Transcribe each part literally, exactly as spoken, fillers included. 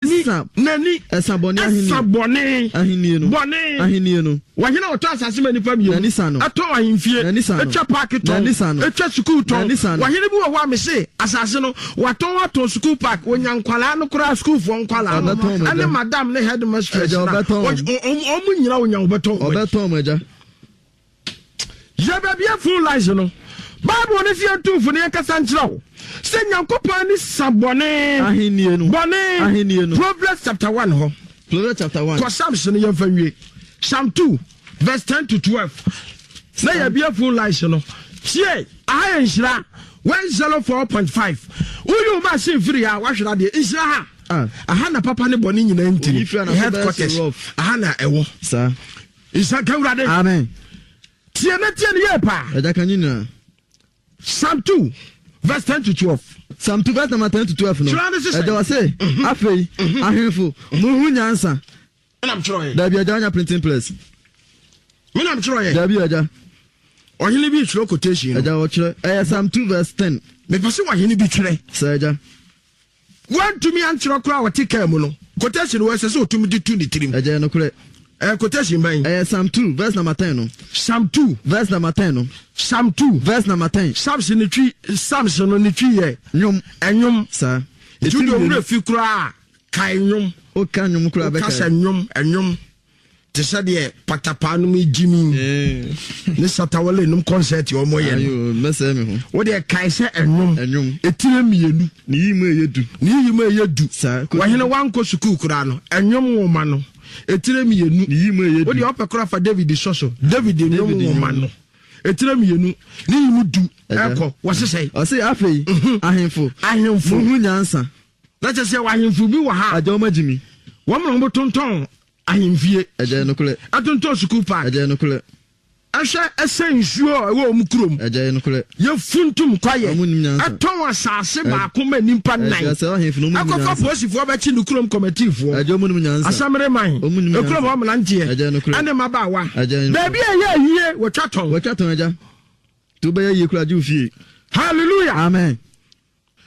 Sa n'ani ɛsa bɔne ahenni. Ɛsa bɔne ahenni no. Bɔne ahenni no. Wɔhene a ɔtɔ asase ma nipa mmienu. N'ani sa no. Ɛtɔn ahemfie. N'ani sa no. Etwa paaki tɔn. N'ani sa no. Etwa sukuu tɔn. N'ani sa no. Wɔhene bi wɔ hɔ a mese asase no watɔn atɔn sukuu park, wonya nkwalaa no koraa, sukuufoɔ nkwalaa no Ɔbɛtɔn mo agya. ɛne madam ne headmistress Agya, na ɔbɛtɔn wɔn. ɔmo nyina wonya wɔbɛtɔn wɔn. Ɔbɛtɔn mo, agya. Yɛ baabi a phone lines no, Bible ne fie ntumfo ne yɛnkasa nkyerɛ wo sɛ Nyankopɔn ani sa bɔne ahenni no. Bɔne ahenni no. Proverbs chapter one hɔ. Proverbs chapter one. Kɔ Psalms no, yɛmfa nwie. Psalm two verse ten to twelve na yɛbie phone lines no. Tie, aha yɛ Nhyira one zero four point five. Woyi wo machine firi ha, woahwere adeɛ. Nhyira ha. Ah. Aha na papa ne bɔne nyinaa ntini. Oyi firi anafo bɛyɛ headquarters so rough. Aha na ɛwɔ. Saa. Nhyira ka Awurade. Amen. Tie na tie ne yie paa. Agya, ka nyinaa. Psalm two verse ten to twelve. Psalm two verse number ten to twelve no. Kyerɛ ne sesɛ. Ɛgya, wɔ se, afei ahemfo, muhu nyansa. Menam kyerɛ yɛ. Dabi, agya, anya printing press. Menam kyerɛ yɛ. Dabi, agya. Ɔhene bi twerɛ quotation no. Agya, wɔkyerɛ ɛyɛ Psalm two verse ten. Mepɛ sɛ ɔhene bi twerɛ. Sɛ, agya. Wantumi ankyerɛ koraa a, ɔte kaa mu no, quotation wɔ ɛsɛ sɛ ɔtumi de tu ne tirim. Agya, yɛ nokorɛ. Ɛyɛ quotation bɛn? Ɛyɛ Psalm two verse number ten no. Psalm two. Verse number ten no. Psalm two. Verse number ten. Psalms ne twi, Psalms no ne twi yɛ nnwom. Ɛnwom. Saa. Nti wode owura fi koraa, kae nnwom. Woka nnwom koraa woka sɛ bɛkae. Nnwom, ɛnwom te sɛ deɛ patapaa nom gyimi ne Shatawale nom concert ɔmɔyɛ no. Ayo, mɛsɛe me ho. Wodeɛ kae sɛ ɛnwom. Ɛnwom. Ɛtire mmienu. Ne yi mu ɛyɛ du. Ne yiyi mu ɛyɛ du. Saa. Wɔhene wankɔ sukuu koraa no, ɛnwom nwoma no ɛtire mmienu. Ne yi mu ɛyɛ du. Wodeɛ ɔpɛ koraa, fa David sɔ so, David nnwom David nwoma nnwom. no ɛtire mmienu ne yi mu du. Agya. Ɛkɔ wɔsesɛe. Ɔse, afei ahemfo, ahemfo, muhu nyansa. Na kyɛ sɛ ahemfo bi wɔ ha. Agya, ɔma gyimi. Wɔn na wɔtontɔn ahemfie. Agya, yɛ nokorɛ. Ɛtontɔn sukuu park. Agya, yɛ nokorɛ. Ɛhwɛ, ɛsɛ nsuo a ɛwɔ wɔn kurom. Agya, yɛ nokorɛ. Yɛfuntum kwaeɛ. Ɔmo nim nyansa. Ɛtɔn asase baako ma nipa nnan. Agya, sɛ ahemfo no ɔmo nim ɛkɔfa nyansa. Polisifoɔ bɛkyi ne kurom kɔmɛtiifoɔ. Agya, ɔmo nim nyansa. Asamere man. Ɔmo nim ekurom nyansa. hɔ mmeranteɛ Agya, nokorɛ. ɛne mmabaawa. Agya, nokorɛ. Baabi a ɛyɛ ayie, wɔtwa tɔn. Wɔtwa tɔn, agya, nti wobɛyɛ yie koraa gye wo fie. Hallelujah. Amen.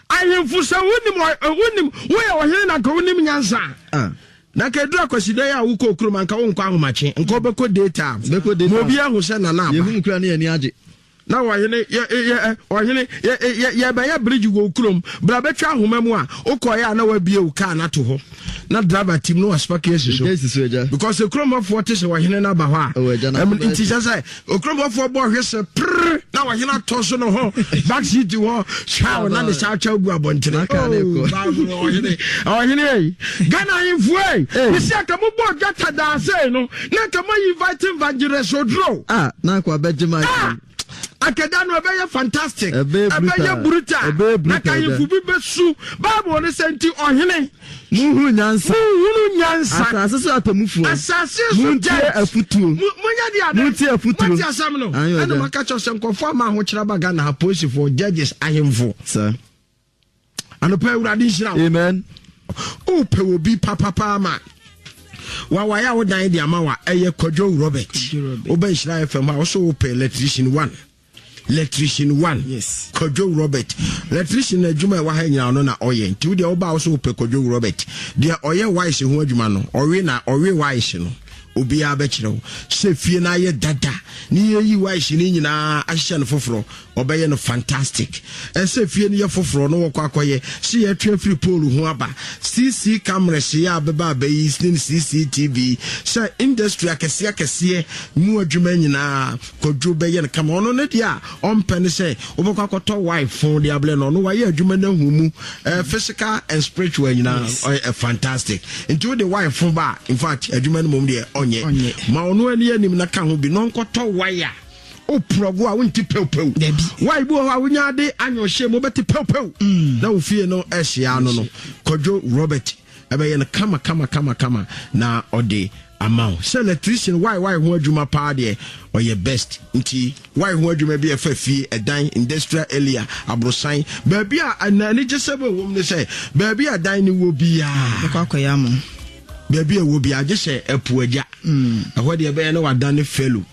Ahemfo, sɛ wonim ɔ- wonim woyɛ ɔhene na nka wonim nyansa a, ah na nka ɛduru Akwasidan a wokɔ kurom, anka wonkɔ ahomakye, nka wobɛkɔ daytime. Bɛkɔ daytime. Ma obi ahu sɛ nana aba. Yɛhu mu koraa ne yɛni agye. Na ɔhene yɛ yɛ ɔhene yɛ yɛ yɛbɛyɛ bridge wɔ kurom, bra bɛtwa ahoma mu a wokɔyɛ a, na wabie wo kaa no ato hɔ na driver team no waspark asi so. Gye si so, agya. Because ekuromɔfoɔ te sɛ ɔhene no aba hɔ a Ɛwɔ agya na ɛm, akɔbɛyɛ nti kyɛ sɛ okuromɔfoɔ bɔ ɔhwe sɛ prrr na ɔhene atɔ so no ho back seat hɔ hwaw na ne saa kyɛw gu abɔntene. Na kaa ne kɔ. Oh, Bible, ɔhene ɔhene ei, Ghana ahemfo ei. Ei. Mesi anka mobɔ dwata daasei no na anka moayi invite Evangelist Oduro. Ah, na akɔ abɛgye ma. Ah! Akɛda no ɛbɛyɛ fantastic. Ɛbɛyɛ ɛbɛyɛ brutal. Brutal. Ɛbɛyɛ na brutal, ka ahemfo bi bɛsu Bible ne sɛ nti ɔhene muhuru nyansa. Muhunu nyansa. Asase so atemmufoɔ, asase so muntie judge. Afutuo. Mo- monyɛ de ade. Muntie afutuo. Mote asɛm no. Ayo, ɛna agya. maka kyerɛ sɛ nkɔfoɔ ama ahokyerɛ ba Ghana ha, polisifoɔ, judges, ahemfo. Saa. Anɔpa, Awurade nhyira wo. Amen. Wopɛ obi papapaa ma wawaeɛ a wodan de ama wa, ɛyɛ Kwadwo Robert. Robert. Wobɛ Nhyira F M a, wo so wopɛ electrician one, electrician one. Yes. Kwadwo Robert electrician na adwuma a ɛwɔ ha nyinaa no na ɔyɛ. Nti wodeɛ woba a, wo so wopɛ Kwadwo Robert deɛ ɔyɛ wires ho adwuma no, ɔwe na ɔwe wires no, obiara bɛkyerɛ wo sɛ fie no ayɛ dada ne yɛyi wires no nyinaa ahyehyɛ no foforɔ, ɔbɛyɛ no fantastic. Ɛsɛ fie no yɛ foforɔ no, wɔkɔ akɔyɛ sɛ yɛatwe afiri pole ho aba, C C cameras yɛ a bɛba abɛyi ne C C T V sɛ industry akɛseɛ akɛseɛ mu adwuma nyinaa, Kwadwo bɛyɛ no kama. Ɔno ne deɛ a ɔmpɛ ne sɛ wobɛkɔ akɔtɔ wife phone de ablɛ no. Ɔno wayɛ adwuma no ahu mu uh, physical and spiritual nyinaa, ɔyɛ fantastic. Nti wode wife phone ba a, in fact, adwuma no mmom deɛ ɔnyɛ. Ɔnyɛ. Ma ɔno ani anim na ka ho bi na ɔnkɔtɔ wire woprɔgo a wonte pewpew. Dabi. Wire bi wɔ hɔ a wonya de anyɔ hyɛ mu, wobɛte pewpew na wo fie no ahyia no no Kwadwo Robert ɛbɛyɛ no kama kama kama kama na ɔde ama wo sɛ electrician. Wire wire ho adwuma paa deɛ, ɔyɛ best. Nti wire ho adwuma bi a ɛfa fie, ɛdan, industrial area, aborosan, baabi a na anigye sɛ bɛwɔ mu ne sɛ baabi a dan no wɔ biara bɛkɔ akɔyɛ ama wo. Baabi a ɛwɔ biara, gye sɛ ɛpo agya, ɛhɔ deɛ ɛbɛyɛ na wadane fellow.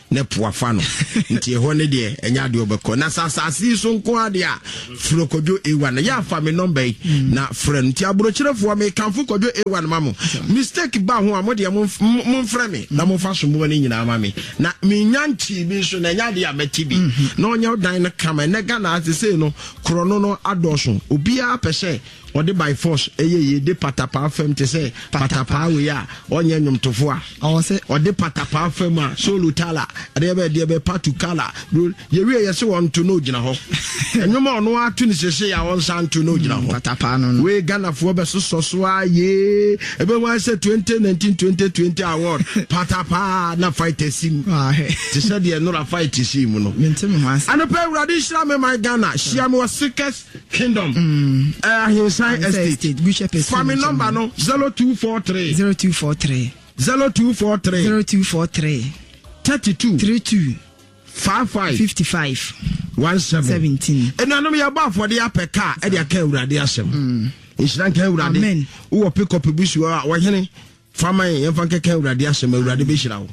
Ne po afa no nti ɛhɔ ne deɛ ɛnyɛ adeɛ ɔbɛkɔ na sɛ asase yi so nko adeɛ a, frɛ Kwadwo A one na yɛ afa me nɔmba yi na frɛ no. Nti aborɔkyerɛfoɔ, mekamfo Kwadwo A one ma mo. Mistake ba ho a, mo deɛ momfrɛ me na momfa somboɔ no nyinaa ma me na menya nkyii bi nso na ɛnyɛ adeɛ a mɛte bi na ɔnyɛ dan no kama. Ɛnɛ Ghana ase sei no, korɔ no no adɔɔso. Obiara pɛ sɛ ɔde by force ɛyɛ yie de patapaa fam te sɛ patapaa wei a ɔnyɛ nnwomtofo a ɔde patapaa fam a solo tala ɛdeɛ bɛ deɛ bɛ patu kala yɛwie yɛ sɛ wɔnto na ogyina hɔ. Ɛnwom a ɔno ato ne sese a ɔnsa nto na ogyina hɔ. Patapaa no no. Wei Ghanafoɔ bɛsosɔ so a yee ɛbɛhu ayɛ sɛ twenty nineteen twenty twenty award patapaa na fight si mu te sɛ deɛ nora fight si mu no. Mente me ho ase. Anɔpɛ, Awurade nhyira me man Ghana. Hyia me wɔ Sikes Kingdom, mm. Ahensan Estate. Fa me number no, zero two four three zero two four three zero two four three zero two four three thirty-two thirty-two fifty-five fifty-five seventeen. seventeen. Ɛnuanom, yɛbɔ afɔde apɛ kaa ɛde aka Awurade asɛm. Nhyira nka Awurade. Amen. Wowɔ pickup bi si hɔ a, wɔhene fama yɛn, yɛmfa nkɛka Awurade asɛm. Awurade bɛhyira wo.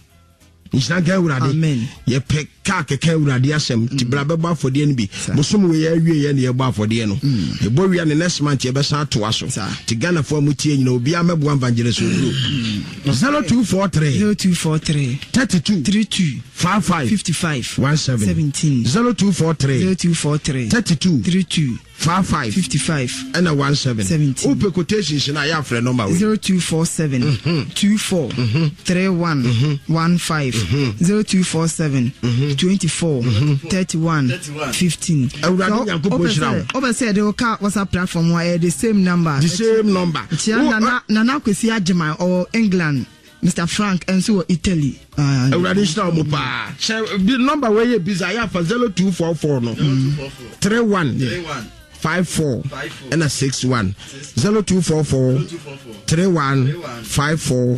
Nhyira nka Awurade. Amen. Yɛpɛ kaa kɛkɛ Awurade asɛm nti bra bɛbɔ afɔdeɛ no bi. Bosom wei awie yɛ ne yɛbɔ afɔdeɛ no, yɛbɔ wia ne next month yɛbɛsan atoa so. Saa. Nti Ghanafoɔ a motie nyina, obiara mɛboa Evangelist Oduro. zero two four three zero two four three thirty-two thirty-two fifty-five fifty-five seventeen. seventeen. zero two four three zero two four three thirty-two thirty-two fifty-five fifty-five ɛna seventeen. seventeen. Wopɛ quotations no a, yɛafrɛ nɔmba wei. zero two four seven twenty-four thirty-one fifteen, zero two four seven twenty-four thirty-one fifteen. Awurade Nyankopɔn hyira wo. Wopɛ sɛ yɛde wo ka WhatsApp platform a, ɛyɛ the same number. The same number. Kyia Wo- Nana Nana Kwesi Agyeman, ɔwɔ England. Mister Frank nso wɔ Italy. Ah, Awurade nhyira wo mu paa. Hyɛ bi nɔmba wei yɛ bisa yɛ afa zero two four four no thirty-one fifty-four ɛna sixty-one, zero two four four thirty-one fifty-four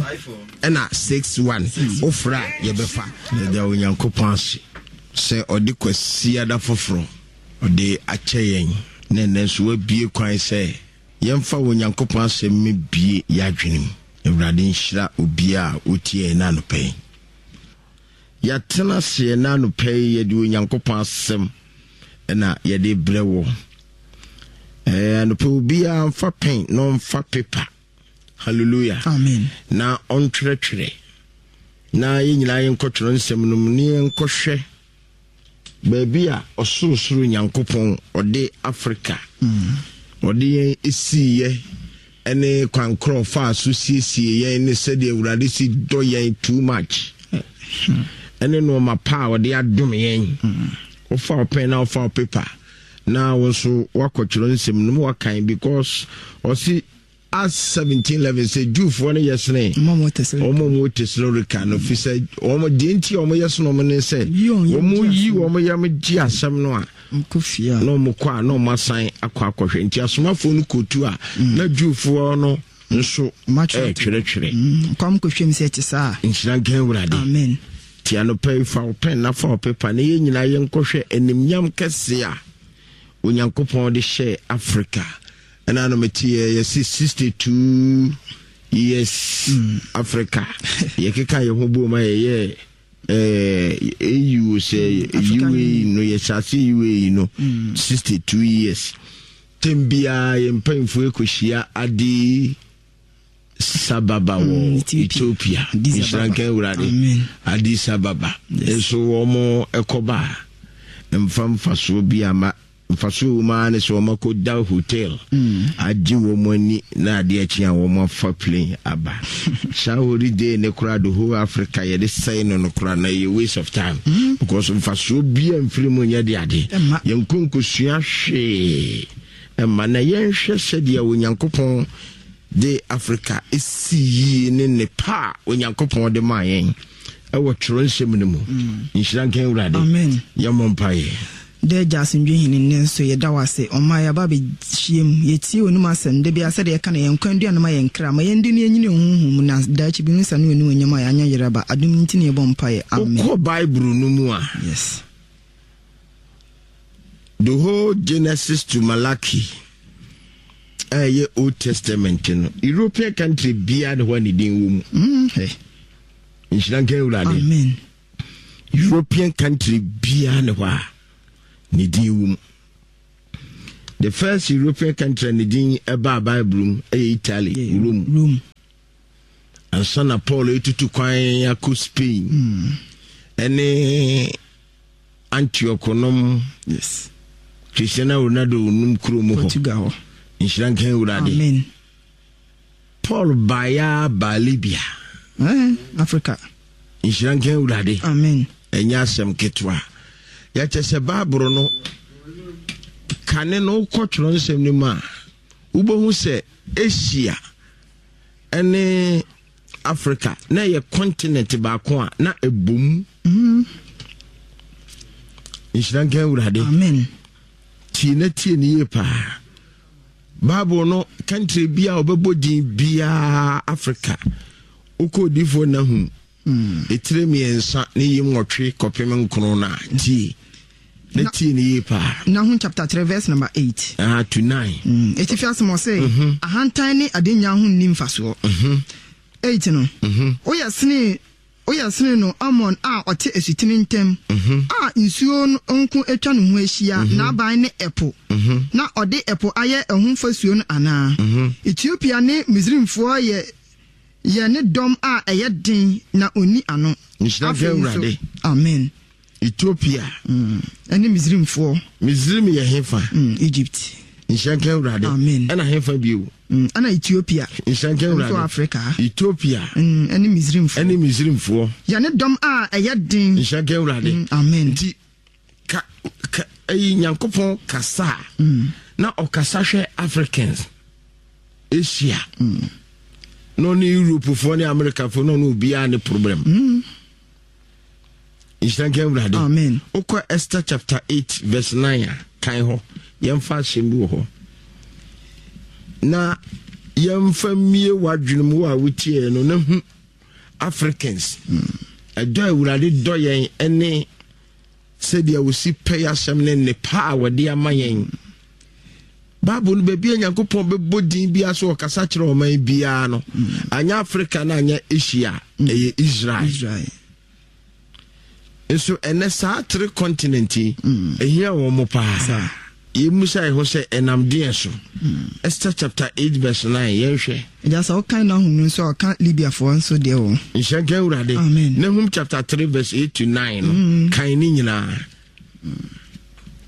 ɛna sixty-one. Wofrɛ a, yɛbɛfa. Yɛda Onyankopɔn ase sɛ ɔde Kwasiada foforɔ ɔde akyɛ yɛn na ɛnɛ nso wabie kwan sɛ yɛmfa Onyankopɔn asɛm mebie yɛadwene mu. Awurade nhyira obiaa a ɔtie yɛn no anɔpɛ yi. Yɛatena aseɛ no anɔpɛ yi, yɛde Onyankopɔn asɛm ɛna yɛde brɛ wɔ. Ɛɛ, anɔpɛ obiara mfa pen na ɔmfa paper. Hallelujah. Amen. Na ɔntwerɛtwerɛ na yɛn nyinaa yɛnkɔtwerɛ nsɛm no mu ne yɛnkɔhwɛ baabi a Ɔsorosoro Nyankopɔn ɔde Africa ɔde yɛn esiiɛ ɛne kwan korɔ faa so siesie yɛn ne sɛdeɛ Awurade si dɔ yɛn too much ɛne nneɛma pa a ɔde adom yɛn. Wofa wo pen na wofa wo paper na wo nso woakɔtwerɛ nsɛm no mu wakan, because ɔsi Acts seventeen eleven sɛ Jewfoɔ no yɛ sene Ɔmo a wɔn wɔn a wɔwɔ Tesalonika no, fi sɛ wɔn deɛ nti a wɔn yɛ sene wɔn ne sɛ Yi wɔn yam wɔn gye yi asɛm. wɔn yam gye asɛm no a Nkɔ fie a na wɔn kɔ a na wɔn asan akɔ akɔhwɛ. Nti asomafoɔ no kɔtu a, na Jewfoɔ no nso Ɔmo atwerɛ. ɛɛtwerɛtwerɛ. Mm, kwam kɔhwɛm sɛ ɛte saa. Nhyira nka Awurade. Amen. Nti anɔpa yi, fa wo pen na fa wo paper na yɛn nyinaa yɛnkɔhwɛ animnyam kɛse a Onyankopɔn de hyɛɛ Africa. Ɛna no meteɛ yɛse sixty-two years Africa yɛkeka yɛn ho bom a yɛyɛ eh, A U sɛ African U A no, yɛhyɛ ase U A no sixty-two years. Tem biara yɛn mpanyimfoɔ ɛkɔhyia Ade Sababa wɔ Mm, Ethiopia. Ethiopia. Addis Nhyira Ababa. nka Awurade. Amen. Addis Ababa nso wɔn ɛkɔba a, mfa mfasoɔ bi ama. Mfasoɔ wɔ mu ara ne sɛ wɔn akɔda hotel agye wɔn ani na adeɛ akyi a wɔn afa plane aba. Saa holiday ne koraa, the whole Africa yɛde sɛe no no koraa na ɛyɛ waste of time, because mfasoɔ bi a mfiri mu nyɛ de ade. Ɛmma. Yɛn nkonkosua hwee ɛma. Na yɛnhwɛ sɛdeɛ Onyankopɔn de Africa esi yie ne ne pa a Onyankopɔn de maa yɛn ɛwɔ twerɛ nsɛm no mu. Nhyira nka Awurade. Amen. Yɛmmɔ mpaeɛ. Dɛ Agya asomdwe hene, nnɛ nso yɛda wo ase. Ɔma yɛaba bɛhyia mu, yɛtie w'anom asɛm da biara sɛdeɛ yɛka no yɛn nkwa aduane ma yɛn kra ma yɛndi no, yɛnyini honhom mu na daakye bi no sa ne w'anim onyam a yɛanyɛ yeraba adom nti ne yɛbɔ mpaeɛ. Amen. Wokɔ Bible no mu a, yes the whole Genesis to Malachi a ɛyɛ Old Testament no, European country biara ne hɔ a ne din wɔ mu. mm, hey. Nhyira nka Awurade. Amen. European country biara ne hɔ a ne din wɔ mu. The first European country a ne din ɛbaa Bible mu ɛyɛ Italy, Yeah, Rome. Rome. Ansa na Paul etutu kwan akɔ Spain ɛne Antioch nom. Yes. Cristiano Ronaldo nom kurom hɔ. Portugal hɔ. Nhyira nka Awurade. Amen. Paul baeɛ baa Libya. Eh, Africa. Nhyira nka Awurade. Amen. Ɛnyɛ asɛm ketewa. Yɛkyɛ sɛ Bible no kane no, wokɔ twerɛ nsɛm no mu a, wobɛhu sɛ Asia ɛne Africa na ɛyɛ continent baako a na ɛbom. Nhyira nka Awurade. Amen. Tie na tie ne yie paa. Bible no, country bi a wɔbɛbɔ din biara, Africa. Wokɔ odiifoɔ Nahum ɛtire mmiɛnsa ne yi nwɔtwe kɔpem nkron no a, tie na tie ne yie paa. Nahum chapter three verse number eight. uh, to nine. Mm. Etifi asɛm ɔsɛ, ahantan ne adenya ho nni mfasoɔ. Eight no. Woyɛ sene woyɛ sene no Amon a ɔte asutene ntam a nsuo no nko atwa ne ho ahyia, n'aban ne ɛpo, na ɔde ɛpo ayɛ ɛho fasuo no anaa? Ethiopia ne Misraimfoɔ yɛ yɛ ne dɔm a ɛyɛ den na onni ano. Nhyira nka Afei nso- Awurade. Amen. Ethiopia. Ɛne Misraimfoɔ. Misrim yɛ hefa? mm, Egypt. Nhyira nka Awurade. Amen. Ɛna hefa bio? mm, ɛna Ethiopia. Nhyira nka Ɛno nso Awurade. Africa. Ethiopia. mm, ɛne Misraimfoɔ. Ɛne Misrimfoɔ. Yɛ ne dɔm a ɛyɛ den. Nhyira nka Awurade. Mm, amen. Nti ka ka ɛyi Nyankopɔn kasa a, na ɔkasa hwɛ Africans, Asia, na ɔne Europefoɔ ne Americafoɔ na ɔne obiara ne problem. Nhyira nka Awurade. Amen. Wokɔ Esther chapter eight verse nine a, kan hɔ. Yɛmfa asɛm bi wɔ hɔ na yɛmfa mmie w'adwene mu a wotiee no na hu Africans ɛdɔ a Awurade dɔ yɛn ɛne sɛdeɛ wɔsi pɛ yɛ asɛm ne nnepa a wɔde ama yɛn. Bible no, baabi a Nyankopɔn bɛbɔ din biara so ɔkasa kyerɛ ɔman biara no, anyɛ Africa na anyɛ Asia, ɛyɛ Israel. Israel. Nso ɛnɛ saa three continent yi ɛhia wɔn mo paa. Saa. Yɛmmusa yɛ ho sɛ ɛnam deɛ so? Esther chapter eight verse nine, yɛnhwɛ. Ɛgya sɛ wokan Nahum no nso a, ɔka Libiafoɔ nso deɛ wɔ. Nhyira nka Awurade. Amen. Nahum chapter three verse eight to nine no, kan ne nyinaa.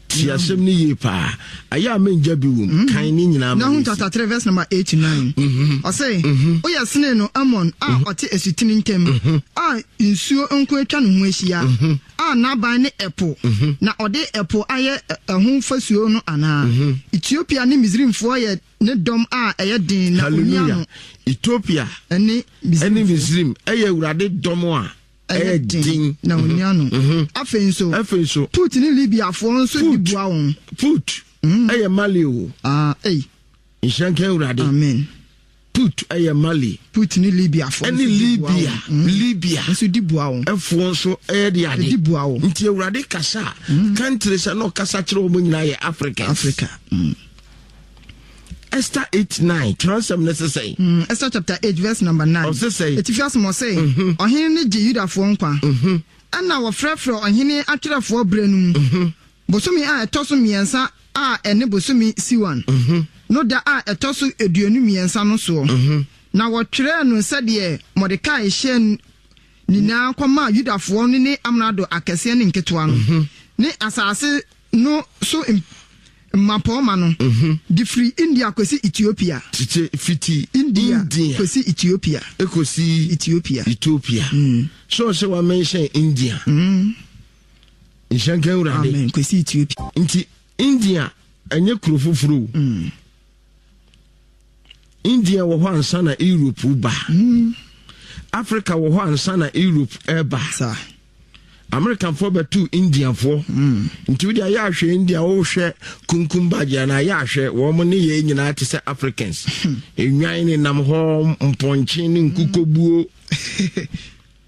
Ti asɛm no yie paa. Ayɛ a mengya bi wom. Kan ne nyinaa ma Nahum yɛnsi. chapter three verse number eight to nine. Ɔse, woyɛ sene no Amon a ɔte asutene ntam a nsuo nko atwa ne ho ahyia, a n'aban ne ɛpo, na ɔde ɛpo ayɛ ɛ- ɛho fasuo no anaa? Ethiopia ne Misraimfoɔ yɛ ne dɔm a ɛyɛ den na onni Hallelujah. ano. Ethiopia ɛne ɛne Misraimfoɔ Misrim ɛyɛ Awurade dɔm a ɛyɛ den na onni ano. Afei nso, Afei nso, Put ne Libiafoɔ nso di Put. boa wɔn. Put ɛyɛ Mali o. Ah, ei. Nhyira nka Awurade. Amen. Put ɛyɛ Mali. Put ne Libiafoɔ ɛne nso di boa Libya. wɔn. Libya nso di boa wɔn. Ɛfoɔ nso ɛyɛ de ade. Ɛdi boa wɔn. Nti Awurade kasa a, country sɛ na ɔkasa kyerɛ wɔn nyinaa yɛ Africans. Africa. Mm. Esther eight nine, twerɛsɛm no sesɛn? Mm, Esther chapter eight verse number nine. Ɔse sɛn? Etifi asɛm ɔse, ɔhene no gye Yudafoɔ nkwa. Ɛna wɔfrɛfrɛ ɔhene atwerɛfoɔ berɛ no mu. Bosome a ɛtɔ so mmiɛnsa a ɛne bosome Siwan no da a ɛtɔ so aduonu mmiɛnsa no soɔ. Na wɔtwerɛɛ no sɛdeɛ Mordekai hyɛ nyinaa kɔmaa Yudafoɔ no ne amrado akɛseɛ ne nketewa no ne asase no so m- mmapɔmma no de firi India kɔsi Ethiopia. Tete fiti India, India kɔsi Ethiopia. Ekosi Ethiopia. Ethiopia. So ɔsɛ wa mention India. Nhyira nka Awurade. Amen. Kɔsi Ethiopia. Nti India ɛnyɛ kuro foforɔ o. India wɔ hɔ ansa na Europe ba. Africa wɔ hɔ ansa na Europe ɛba. Saa. Americanfoɔ bɛtu Indiafoɔ. Nti wode ayɛ ahwɛ India, wohwɛ Kumkum Bhagya na ayɛ ahwɛ wɔn ne yɛn nyinaa te sɛ Africans. Nnwan ne nam hɔ, mpɔnkye ne nkukobuo.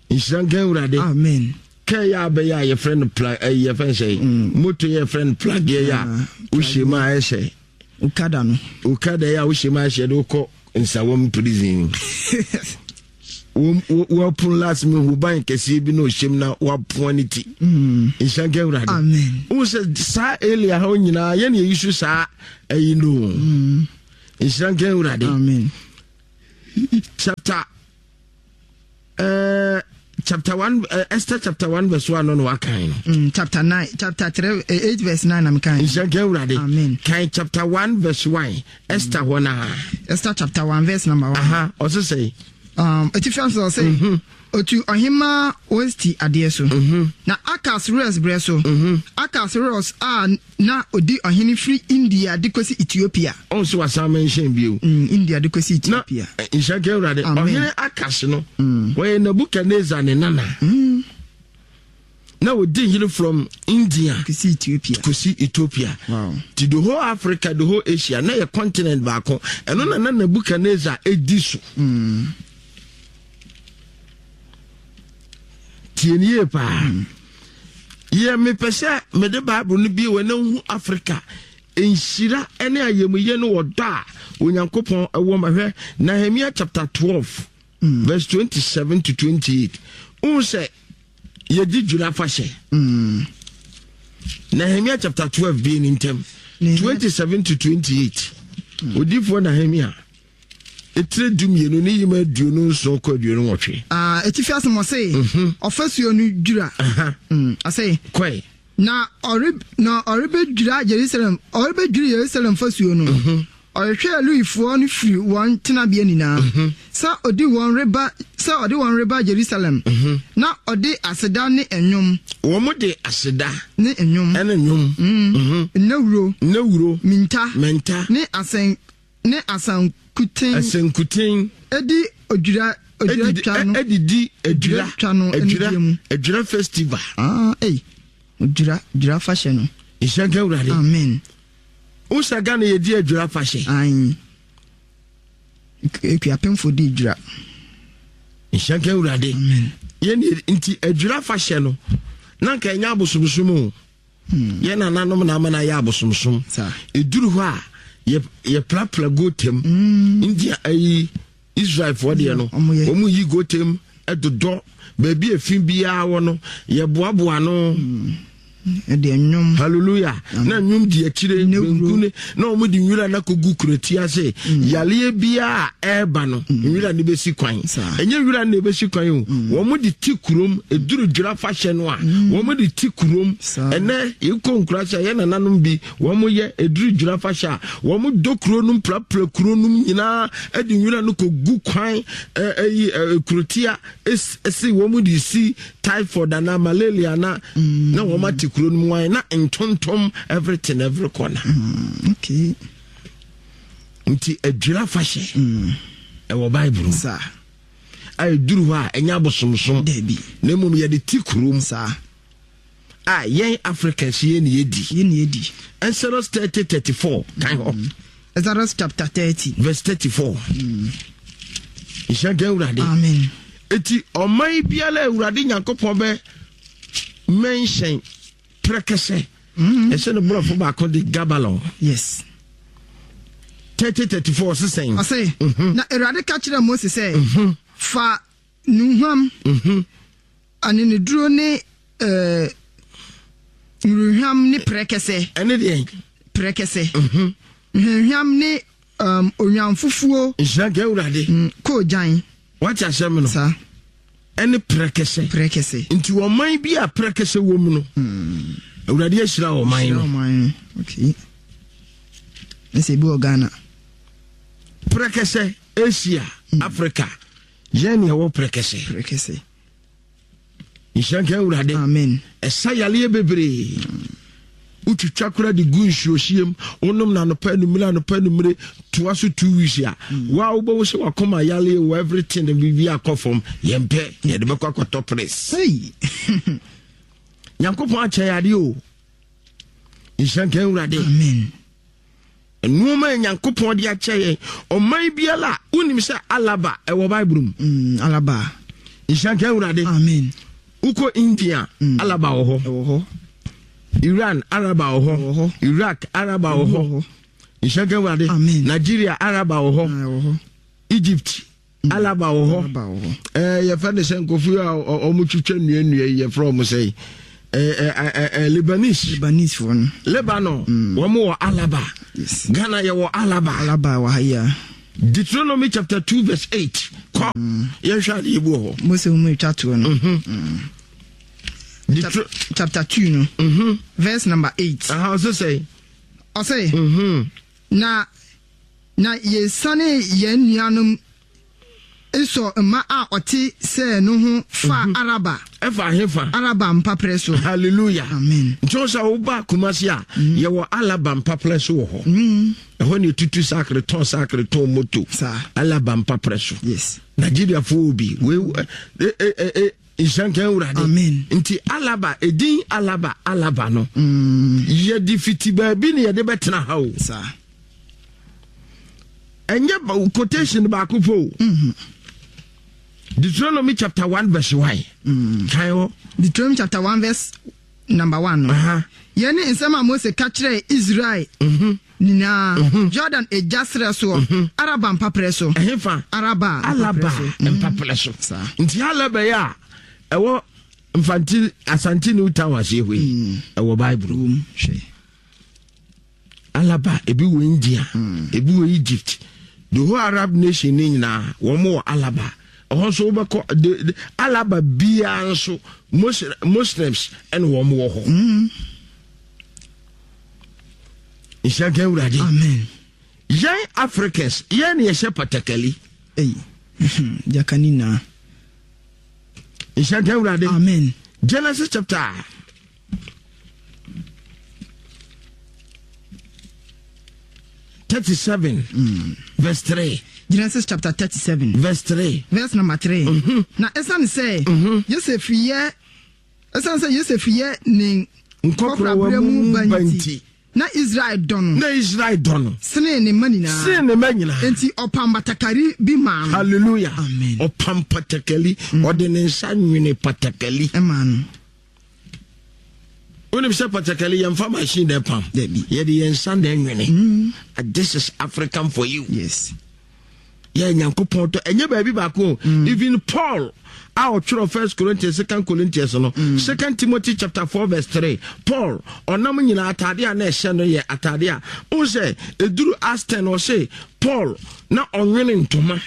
Nhyira nka Awurade. Amen. Kɛ yɛ abɛyɛ a yɛfrɛ no pla ɛyi, yɛfrɛ no sɛ moto yɛ yɛfrɛ no plageɛ yɛ a wohyɛ mu a ɛhyɛ Okada no. Okada yɛ a wohyɛ mu a ɛhyɛ de wokɔ Nsawam prison. Wɔpono last mi hu ban kɛseɛ bi na ɔhyɛm na wapoa ne ti. Nhyira nka Awurade. Amen. Wohu sɛ saa elia hɔ nyinaa yɛne yɛyi so saa ayi no. Nhyira nka Awurade. Amen. Chapter uh, chapter one, uh, Esther chapter one verse one no na wakan no. Mm, chapter nine, chapter three, eh, eight verse nine na mekan. Nhyira nka Awurade. Amen. Kan chapter one verse one, Esther hɔ naa. Esther chapter one verse number one. Aha, ɔse sɛ. Um, etifi nso ɔse, otu ɔhema Wasti adeɛ so. Na Akas-Ros berɛ so. Akas-Ros a na odi ɔhene firi India de kɔsi Ethiopia. Ɔn so wasan mention bio. Mm, India de kɔsi Na Ethiopia. eh, nhyira nka Awurade. Amen. Ɔhene Akas no, wɔyɛ Nebuchadnezzar ne nana. Na odi hene from India Kɔsi Ethiopia. kɔsi Ethiopia. Wow. Ti the whole Africa, the whole Asia, na yɛ continent baako. Ɛno na na Nebuchadnezzar edi so. Tie nie yie paa. Yɛ mepɛ sɛ mede Bible no bie wɔ na hu Africa nhyira ne ayamuyɛ no wɔ dɔ a Onyankopɔn ɛwɔ ma. Hwɛ Nehemia chapter twelve verse twenty-seven to twenty-eight. Wohu sɛ yɛdi dwira fahyɛ. Nehemia chapter twelve bie ne ntɛm. Nehemia- twenty-seven to twenty-eight. Odiyifoɔ Nehemia etire du mmienu ne yima aduonu nson kɔ aduonu nwɔtwe. Ah, etifi asɛm ɔse, ɔfasuo no dwira. Aha. Mm, ɔse, Kɔe. na ɔre na ɔrebɛdwira Jerusalem, ɔrebɛdwiri Yerusalem fasuo no, ɔrehwɛ Lewifoɔ no firi wɔn tenabea nyinaa sɛ ɔde wɔn reba sɛ ɔde wɔn reba Jerusalem, na ɔde aseda ne nnwom Wɔn de aseda ne nnwom ɛne nnwom. Mhm. nnawuro, Nnawuro. Minta mɛnta ne asɛn ne asankuten asankuten edi odwira odwira edidi twa no edidi adwira twa no adwira anigye mu. Adwira festival. Ah, ei, odwira dwira fahyɛ no. Nhyira nka Awurade. Amen. Wosa Ghana yɛdi adwira fahyɛ. Ayi, ekuapemfo di dwira. Nhyira nka Awurade. Amen. Yɛn nti adwira fahyɛ no na nka ɛnyɛ abosomsom o. Yɛn nananom na ama no ayɛ abosomsom. Saa. Ɛduru hɔ a yɛ yɛprapra gotem. Nti ayi Israelfoɔ deɛ no, Ɔmo yɛ. wɔn yi gotem ɛdodɔ baabi efi biara wɔ no, yɛboaboa no. Ɛde nnwom. Hallelujah. Na nnwom di akyire. Nnawuro. Benku ne na wɔn de nwura na kogu kuroti ase. Yaleɛ biara a ɛreba no, nwura no bɛsi kwan. Saa. Ɛnyɛ nwura no na ɛbɛsi kwan o. Wɔn de ti kurom eduru dwira fahyɛ no a, wɔn de ti kurom. Saa. Ɛnɛ yɛkɔ nkura sɛ yɛ nananom bi wɔn yɛ eduru dwira fahyɛ a, wɔn dɔ kuro nom, prapra kuro nom nyinaa, ɛde nwura no kogu kwan ɛ ɛyi ɛ kuroti a esi esi wɔn de si typhoid ana malaria na na wɔn ate kuro no mu wan na ntontom everything, every corner. Okay nti adwira fahyɛ ɛwɔ Bible mu saa a ɛduru hɔ a ɛnyɛ abosomsom Dabi. na mmom yɛde ti kurom saa a yɛn Africans yɛn ne yɛdi. Yɛn ni yɛdi. Exodus thirty thirty-four, kan hɔ. Exodus chapter thirty. Verse thirty-four. Nhyira nka Awurade. Amen. Eti ɔman biara a Awurade Nyankopɔn bɛ mention prɛkɛsɛ, ɛsɛ ne borɔfo baako de gabalon. Yes. thirty thirty-four sesɛn? Ɔse, na Awurade ka kyerɛ Mose sɛ, fa nnuhwam, aneneduro ne ɛɛ nnuhwam ne prɛkɛsɛ. Ɛne deɛ? Prɛkɛsɛ, nhwehwam ne um, onwamfufuo. Nhyira nka Awurade. mm, koogyan. Wate asɛm no? Saa. Ɛne prɛkɛsɛ. Prɛkɛsɛ. Nti ɔman bi a prɛkɛsɛ wɔ mu no, Awurade ahyira ɔman no. Ɔman no, okay. Ɛsɛ ebi wɔ Ghana. Prɛkɛsɛ, Asia, Africa, yɛn ne ɛwɔ prɛkɛsɛ. Prɛkɛsɛ. Nhyira nka Awurade. Amen. Ɛsa yaleɛ bebree. Wotwitwa kora de gu nsuohyiem, wonom no anɔpa, anumere, anɔpa, anumere, toa so two weeks a, waa wobɛwo sɛ wakoma yaleɛ wɔ everything, biribi akɔ fam. Yɛmpɛ, yɛde bɛkɔ akɔtɔ press. Hey. Nyankopɔn akyɛ yɛ adeɛ o. Nhyira nka Awurade. Amen. Nneɛma a Nyankopɔn de akyɛ yɛn, ɔman biara a wonim sɛ alaba ɛwɔ Bible mu. mm, alaba. Nhyira nka Awurade. Amen. Wokɔ India, alaba wɔ hɔ. Ɛwɔ hɔ. Iran, araba wɔ Ɛwɔ hɔ. hɔ. Iraq, araba wɔ Ɛwɔ hɔ. hɔ. Nhyira nka Awurade. Amen. Nigeria, araba wɔ hɔ. Ah, ɛwɔ hɔ. Egypt, Alaba wɔ hɔ. Ɛɛ yɛfɛ ne sɛ nkɔfo a ɔmo twitwa nnuannua yi, yɛfrɛ ɔmo sɛ ɛɛ ɛɛ Lebanese. Lebanese foɔ no. Lebanon, wɔn wɔ Alaba. Yes. Ghana yɛwɔ Alaba. Alaba wɔ ha yi a. Deuteronomy chapter two verse eight. Kɔ. Yɛnhwɛ adeɛ bi wɔ hɔ. Mose mu etwa toɔ no. Deuter Chapter two no. Mhm. Verse number eight. Aha, ɔsɛ sɛ. Ɔsɛ. Mhm. Na na yɛsane yɛn nuanom Esau mma a ɔte sɛɛ no ho faa Araba. Ɛfa ahefa. Araba mpaprɛ so. Hallelujah. Amen. Nti wo sɛ woba Kumasi a, yɛwɔ Alaba mpaprɛ so wɔ hɔ. Ɛhɔ ne ɛtutu sakre tɔn sakre tɔn moto. Saa. Alaba mpaprɛ so. Yes. Nigeriafoɔ wɔ bi. Wei ɛ ɛ ɛ ɛ nhyɛnkan Awurade. Amen. Nti Alaba, edin Alaba Alaba no, yɛde fiti baabi ne yɛde bɛtena ha o. Saa. Ɛnyɛ ba- quotation baako po o. Deuteronomy chapter one verse one. Kan hɔ. Deuteronomy chapter one verse number one no. Aha. Yɛn ne nsɛm a Mose ka kyerɛɛ Israel nyinaa Jordan agya serɛ soɔ, Araba mpaprɛ so. Ɛhefa. Araba Alaba mpaprɛ so. mpaprɛ so. Saa. Nti Alaba yi a ɛwɔ Mfanti Asante New Town aseɛ hɔ yi, ɛwɔ Bible mu. Wom hwɛ. Alaba ebi wɔ India, ebi wɔ Egypt, the whole Arab nation ne nyinaa wɔn wɔ Alaba. Ɛhɔ nso wobɛkɔ de, de, Alaba biara nso Muslims ɛna wɔn wɔ hɔ. Nhyɛnkan Awurade. Amen. Yɛn Africans, yɛn na yɛhyɛ patakali. Ei. Jakani na. Nhyɛnkan Awurade. Amen. Genesis chapter thirty-seven, verse three. Genesis chapter thirty-seven. Verse three. Verse number three. Na ɛsiane sɛ Yosef yɛ ɛsiane sɛ Yosef yɛ ne nkɔkoraberɛ mu ba nti, na Israel dɔ no na Israel dɔ no sene ne mma nyinaa. Sene ne mma nyinaa. Enti ɔpam batakari bi maa no. Hallelujah. Amen. Ɔpam patakali, ɔde ne nsa nwene patakali ɛmaa no. Wonim sɛ patakali yɛmfa machine na ɛpam? Dabi. Yɛde yɛn nsa na ɛnwene. This is African for you. Yes. Yɛ Nyankopɔn tɔ ɛnyɛ baabi baako o. Even Paul a ɔtwerɛ First Corinthians, Second Corinthians no, Second Timothy chapter four verse three, Paul ɔnam nyinaa atade a na ɛhyɛ no yɛ atade a wohu sɛ ɛduru Aston, ɔse Paul na ɔnwene ntoma.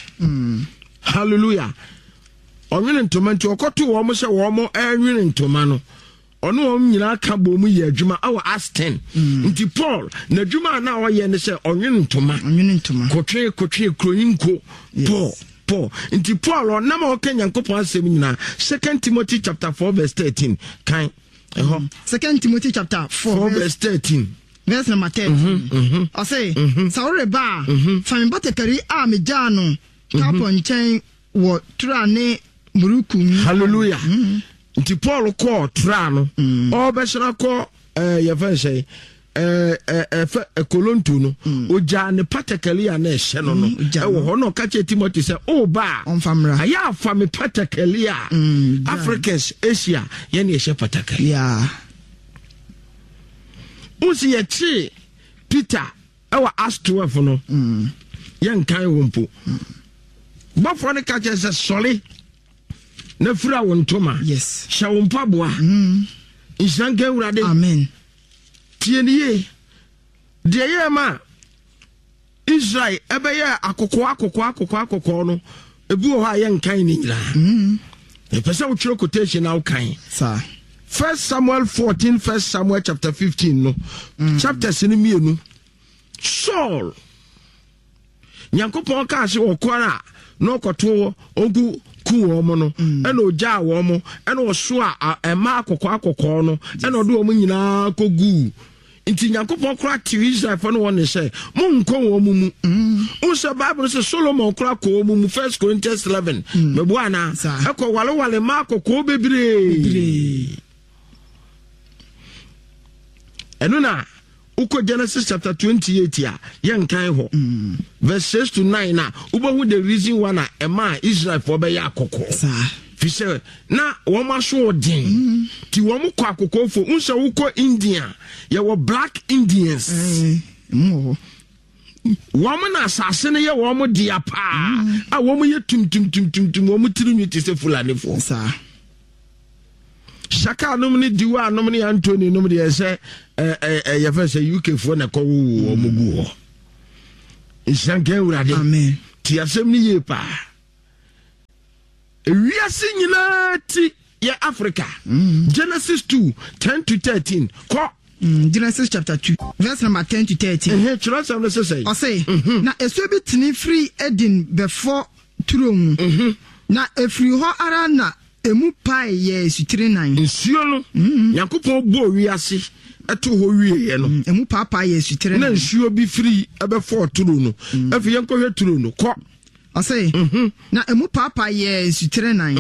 Hallelujah. Ɔnwene ntoma, nti ɔkɔto wɔn sɛ wɔn ɛnwene ntoma no, ɔne wɔn nyinaa ka bɔ mu yɛ adwuma ɛwɔ Aston. Nti Paul n'adwuma a na ɔyɛ ne sɛ ɔnwene ntoma. Ɔnwene ntoma. Kotwe kotwe kuronyi nko. Yes. Paul Paul nti Paul ɔnam a ɔka Nyankopɔn asɛm nyinaa. Second Timothy chapter four verse thirteen, kan ɛhɔ. Second Timothy chapter four, four verse verse thirteen. Verse number thirteen. Ɔse, sɛ woreba a, fa me batakari a megyaa no Karpo nkyɛn wɔ Tura ne Muruku mu. Hallelujah. Nti Paul kɔɔ Tura no, ɔbɛsra kɔ ɛɛ yɛfɛ sɛ ɛɛ ɛɛ ɛfɛ Kolonto no, ogyaa ne patakali a na ɛhyɛ no no ogyaa ɛwɔ hɔ, na ɔka kyerɛ Timothy sɛ ɔba a ɔmfa mmra. Ayɛ afa me patakali a. Mm, gyaa. Africans, Asia, yɛne yɛhyɛ patakali. Yeah. Wosi yɛkyee Peter ɛwɔ Acts twelve no, yɛnkan wo mpo, bɔfoɔ no ka kyerɛ sɛ sɔre na fira wo ntoma, Yes. hyɛ wo mpaboa. Nhyira nka Awurade. Amen. Tie ne yie, deɛ yɛɛ ma Israel ɛbɛyɛ akɔkɔɔ akɔkɔɔ akɔkɔɔ akɔkɔɔ no, ebi wɔ hɔ a yɛnkan ne nyinaa. Ɛpɛ sɛ wotwerɛ quotation na wokan. Saa. First Samuel fourteen, First Samuel chapter fifteen no, chapters no mmienu. Saul, Nyankopɔn kaa sɛ ɔkɔre a na ɔkɔto ɔnku ku wɔn mo no, ɛna ogyaa wɔn mo, ɛna ɔso a ɛma akɔkɔɔ akɔkɔɔ no, ɛna ɔde wɔn nyinaa kɔguu. Nti Nyankopɔn koraa te Israelfoɔ no wɔn ne sɛ monkɔ wɔn mu mu. Wohu sɛ Bible sɛ Solomon koraa kɔ wɔn mu mu, First Corinthians eleven, mɛboa anaa? Saa. Ɛkɔ walewale ma akɔkɔɔ bebree. Bebree. Ɛno na wokɔ Genesis chapter twenty-eight a yɛnkan hɔ, verse six to nine na wobɛhu the reason why na ɛma a Israelfoɔ bɛyɛ akɔkɔɔ. Saa. Fi sɛ na wɔn aso ɔden nti wɔn kɔ akɔkɔɔfo. N sɛ wokɔ India, yɛwɔ black Indians. Ɛɛ, emu wɔ hɔ. Wɔn na asase no yɛ wɔn dea paa a wɔn yɛ tumtumtumtumtum, wɔn tiri nwi te sɛ Fulanifoɔ. Saa. Shaka nom ne Diwa nom ne Anthony nom deɛ, sɛ ɛ ɛ ɛ yɛfɛ sɛ U K foɔ na ɛkɔ wowo wɔn gu hɔ. Nhyira nka Awurade. Amen. Ti asɛm no yie paa. Ewiase nyinaa ti yɛ Africa. Genesis two ten to thirteen kɔ. Mm, Genesis chapter two, verse number ten to thirteen. Ɛhɛn, kyerɛ no sɛ sɛ. Ɔse, na esuo bi tene firi Eden bɛfɔ turo mu. Na efiri hɔ ara na emu pae yɛ sutire nan. Nsuo no, Nyankopɔn bɔɔ wiase ɛto hɔ wieɛ no, Mm, emu paapaa yɛ sutire na nan. Nsuo bi firi ɛbɛfɔɔ turo no. Afei yɛnkɔhwɛ turo no kɔ. Ɔse, na emu paapaa yɛ sutire nan.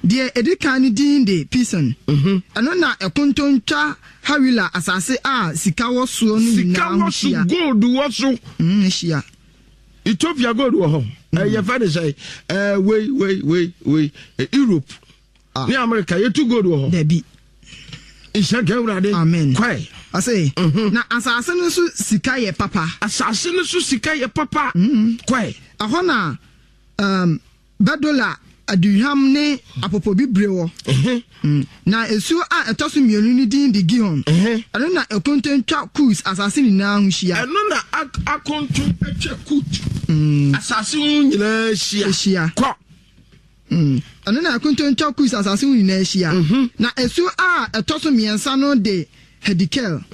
Deɛ edi kan no din de Pison. Ɛno na ɛkontontwa Hawila asase a sika wɔ soɔ no sika nyinaa ho wɔ so hyia. Gold wɔ so. Mm, hyia. Ethiopia gold wɔ hɔ. Ɛyɛ fɛ de sɛ ɛɛ wei wei wei wei ɛ, Europe Ah. ne America yɛtu gold wɔ hɔ. Dabi. Nhyira nka Awurade. Amen. Kwae. Ɔse, na asase no so sika yɛ papa. Asase no so sika yɛ papa. Kwae. Ɛhɔ na um, bɛdola aduhwam ne apopobibire wɔ. Ɛhɛn. Mm. Na esuo a ɛtɔ so mmienu no din de Gihon. Ɛhɛn. Ɛno na ɛkontontwa Kus asase nyinaa ho hyia. Ɛno na ak- akonto atwa Kut asase ho nyinaa hyia. Hyia. Kɔ. Mm. Ɛno na ɛkontontwa Kus asase ho nyinaa hyia. Na esuo a ɛtɔ so mmiɛnsa no de Hidekel.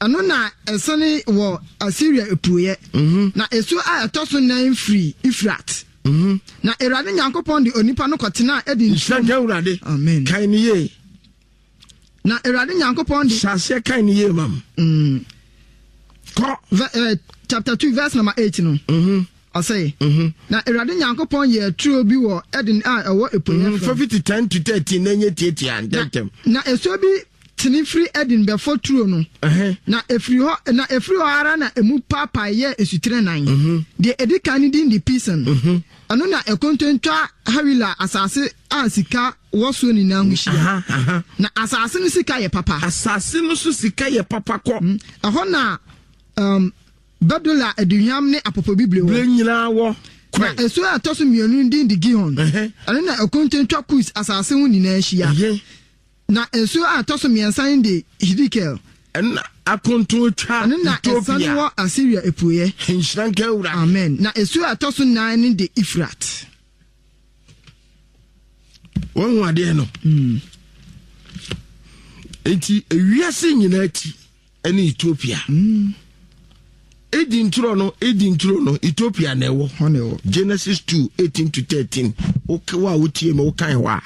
Ɛno na ɛsane wɔ Asiria apueɛ. Na esuo a ɛtɔ so nan firi Efrat. Na Awurade Nyankopɔn de onipa no kɔtenaa Eden Nhyira nka Awurade. Amen. Kan ne yie. Na Awurade Nyankopɔn de hyɛ aseɛ kan ne yie mam. Mm, Kɔ. Ve- eh, chapter two verse number eight no. Ɔsɛ, na Awurade Nyankopɔn yɛɛ turo bi wɔ Eden a ɛwɔ apueɛ fa fam. Fifty ten to thirteen na nye tietia ntɛntɛm. Na esuo bi tene firi Eden bɛfɔ turo no. Ɛhɛn. Na efiri hɔ na efiri hɔ ara na emu paapae yɛ esutire nan. Deɛ edi kan no din de Pison. Ɛno na ɛkontontwa Hawila asase a sika wɔ soɔ nyinaa ho hyia. Aha, aha. Na asase no sika yɛ papa. Asase no so sika yɛ papa, kɔ. Ɛhɔ na um, bɛdola aduhwam ne apopobibire Bere wɔ. nyinaa wɔ. Na Kwae. esuo a ɛtɔ so mmienu no din de Gihon. Ɛhɛn. Ɛno na ɛkontontwa Kus asase ho nyinaa hyia. Ɛhɛn. Na nsuo a ɛtɔ so mmiɛnsa no de Hidekel. Ɛna akonto twa Ɛno na ɛsane Ethiopia. wɔ Asiria apueɛ. Nhyira nka Awurade. Amen. Na esuo a ɛtɔ so nan no de Efrat. Wɔn ho adeɛ no nti ewiase nyinaa ti ɛne Ethiopia. Edi nturo no, edi nturo no, Ethiopia na ɛwɔ. Hɔ na ɛwɔ. Genesis two eighteen to thirteen. Woka wo a wotie ma wokan hɔ a,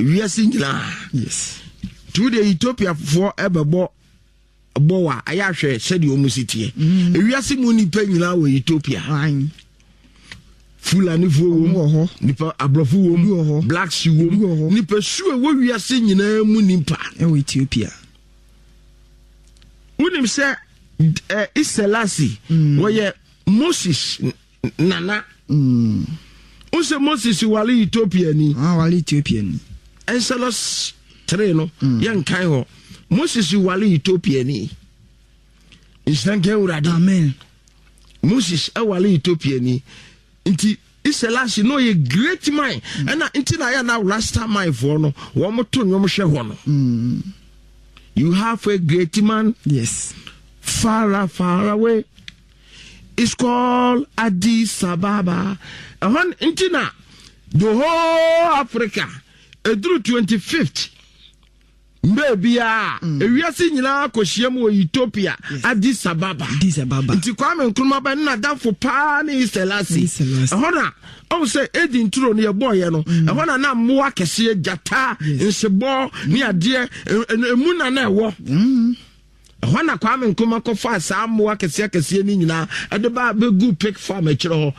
ewiase nyinaa Yes. nti wode Ethiopiafoɔ ɛbɛbɔ bɔ wa ayɛ ahwɛ sɛdeɛ ɔmu si teɛ. Ewiase mu nipa nyinaa wɔ Ethiopia. Ayi. Fulanifoɔ Ɔmo wɔ wɔ hɔ. Nipa aborɔfo wɔ Bi wɔ mu, hɔ. blacks wɔ Bi wɔ mu, hɔ. nipa su a ɛwɔ wiase nyinaa mu nipa. Ɛwɔ Ethiopia. Wonim sɛ ɛ Iselasi wɔyɛ Moses nana. Mm. Wo sɛ Moses wale Ethiopia ni. Ah, wale Ethiopia ni. Exodus three no, yɛnkan hɔ, Moses wale Ethiopia ni. Nhyira nka Awurade. Amen. Moses ɛwale Ethiopia ni, nti Iselasi no ɔyɛ great man. Ɛna nti na ayɛ na Rasta man foɔ no wɔn to nnwom hwɛ hɔ no. Mm. You have a great man Yes. far, far away. It's called Addis Ababa. Ɛhɔ nti na the whole Africa eduru twenty fifth mbee biara, ewiase nyinaa kɔhyia mu wɔ Ethiopia, Addis Ababa. Addis Ababa. Nti Kwame Nkrumah bɛ ne n'adamfo paa ne Iselasi. Iselasi. Ɛhɔ na ɔmo sɛ edi nturo no yɛbɔɔyɛ no, ɛhɔ na na mmoa kɛseɛ, gyata, nsebɔ ne adeɛ ɛ- ɛ- emu na na ɛwɔ Mm. ɛhɔ. Na Kwame Nkrumah kɔfa saa mmoa kɛseɛ kɛseɛ no nyinaa ɛde ba bɛgu pig farm akyerɛ hɔ.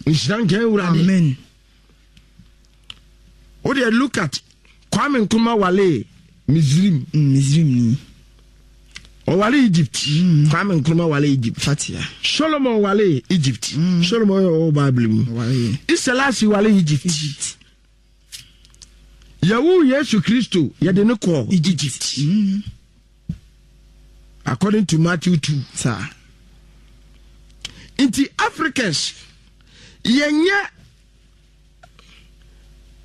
Nhyira nka Awurade. Amen. Wodeɛ look at Kwame Nkrumah, wale Misrim. Mm, Misrim ni. Ɔwale Egypt. Kwame Nkrumah wale Egypt. Fatia. Solomon wale Egypt. Solomon yɛ ɔwɔ Bible mu. Wale. Iselasi wale Egypt. Egypt. Yɛwo Yesu Kristo, yɛde ne kɔɔ Egypt Mm. according to Matthew two. Saa. Nti Africans yɛnyɛ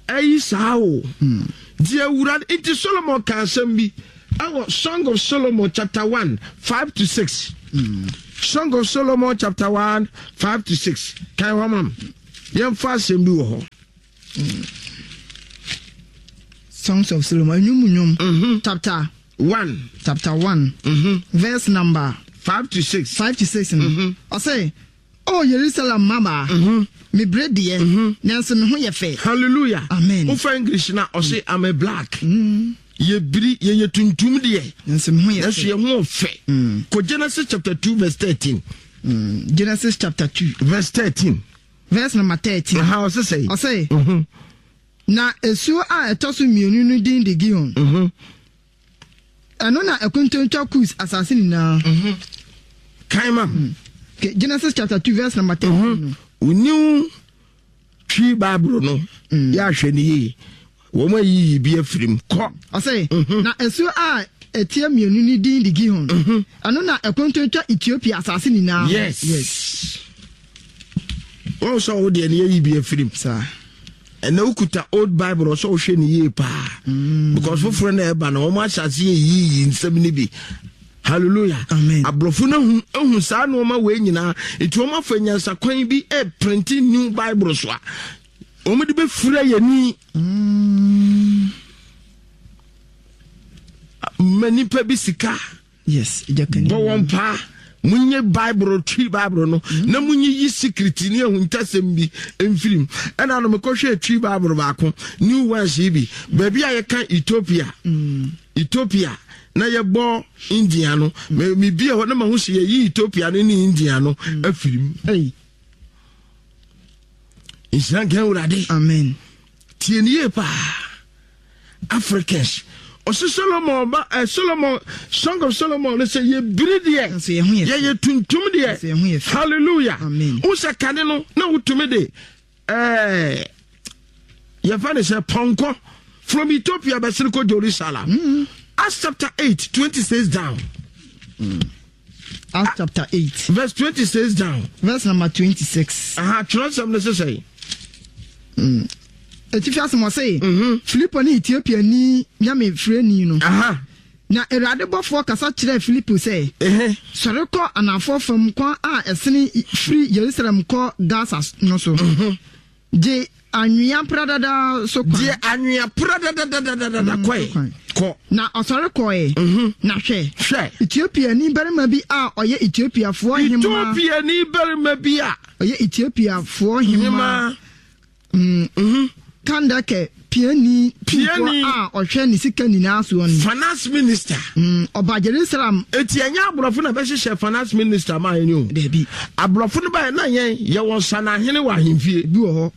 ayi saa o. Nti Awurade, nti Solomon ka asɛm bi ɛwɔ Song of Solomon chapter one five to six. Song of Solomon chapter one five to six. Kan hɔ mam. Yɛmfa asɛm bi wɔ hɔ. Songs of Solomon, Nnwom Nnwom, mm-hmm. chapter one, chapter one, mm-hmm. verse number five to six. Five to six. No. Mm-hmm. Ɔsɛ, "O Yerusalem mmabaa, mm-hmm. me bere deɛ, mm-hmm. nanso me ho yɛ fɛ." Hallelujah. Amen. Wofa English na ɔsɛ, "I'm a black." Mm. Yɛbiri, yɛyɛ tuntum deɛ, nanso me ho yɛ fɛ. Nanso yɛ ho fɛ. Mm. Kɔ Genesis chapter two verse thirteen. Mm. Genesis chapter two verse thirteen. Verse number thirteen. Aha, ɔsɛ sɛ. Ɔsɛ, mm-hmm. "Na esuo a ɛtɔ so mmienu no din de Gihon. Mm-hmm. Ɛno na ɛkontontwa Kus asase nyinaa." Mm-hmm. Kan ma. Mm. Okay, Genesis chapter two verse number thirteen. New Twi Bible no, mm. yɛ ahwɛ ne yie. Wɔn ayiyi bi afiri mu. Kɔ. Ɔsɛ, mm-hmm. "Na esuo a ɛteɛ mmienu no din de Gihon. Mm-hmm. Ɛno na ɛkontontwa Ethiopia asase nyinaa." Yes. Yes. Wɔn sɛ ɔwɔ deɛ ne yɛyi bi afiri mu. Saa. Ɛnna wokuta old Bible, ɔsɛ wohwɛ ne yie paa. Mm. Because foforɔ na ɛba no, wɔn ahyɛ ase yɛ yiyi nsɛm no bi. Hallelujah. Amen. Aborɔfo no ahu ahu saa nneɛma wei nyinaa, nti wɔn afa nyansakwan bi ɛprint new Bible so a wɔn de bɛfira yɛn ni. Mm. Ma nipa bi sika. Yes. Bɔ wɔn paa. Munye Bible, Twi Bible no, mm. na munye yi secret ne ahuntasɛm bi mfirim. Ɛna no mekɔhwɛ Twi Bible baako, new ones yi bi, baabi a yɛka Ethiopia, mm. Ethiopia na yɛbɔ India no, mm. mebie hɔ na mahu sɛ yɛyi Ethiopia no ne India no mm. afirim. Nhyira nka Awurade. Amen. Tie ne yie paa, Africans. Ɔsɛ Solomon ba ɛ, eh, Solomon, Song of Solomon no sɛ yɛbiri deɛ, yɛyɛ tuntum deɛ. Hallelujah. Wo sɛ kane no na wotumi de ɛɛ yɛfa ne sɛ pɔnkɔ from Ethiopia bɛsene kɔ Jerusalem. mm. Acts chapter eight twenty six down. mm. Acts chapter eight verse twenty six down. Verse number twenty six. Aha, twerɛsɛm no sesɛ. mm. Etifi asɛm, ɔse, mm-hmm. Filipo ne Ethiopia ni nyame firani no. Aha. Na Awurade bɔfoɔ kasa kyerɛɛ Filipo sɛ, "Sɔre kɔ anafoɔ fam kwan a ɛsene firi Yerusalem kɔ Gasa no so. Mhm. Gye anwea pradada so kwan." Gye anwea pradadadadada mm, kɔe. Kɔ. Na ɔsɔre kɔe. Mhm. Na hwɛ, hwɛ, Etiopiani barima bi a ɔyɛ Etiopiafoɔ hemmaa. Etiopiani barima bi a ɔyɛ Etiopiafoɔ hemmaa hema. mm. Kandake piani Piani. tumfoɔ a ɔhwɛ ne sika nyinaa soɔ no. Finance minister. Mm, ɔba Jerusalem. Eti ɛnyɛ aborɔfo na bɛhyehyɛ finance minister maa yɛn o. Dabi. Aborɔfo no bayɛ na yɛn yɛwɔ sanahene wɔ ahemfie. Bi wɔ hɔ,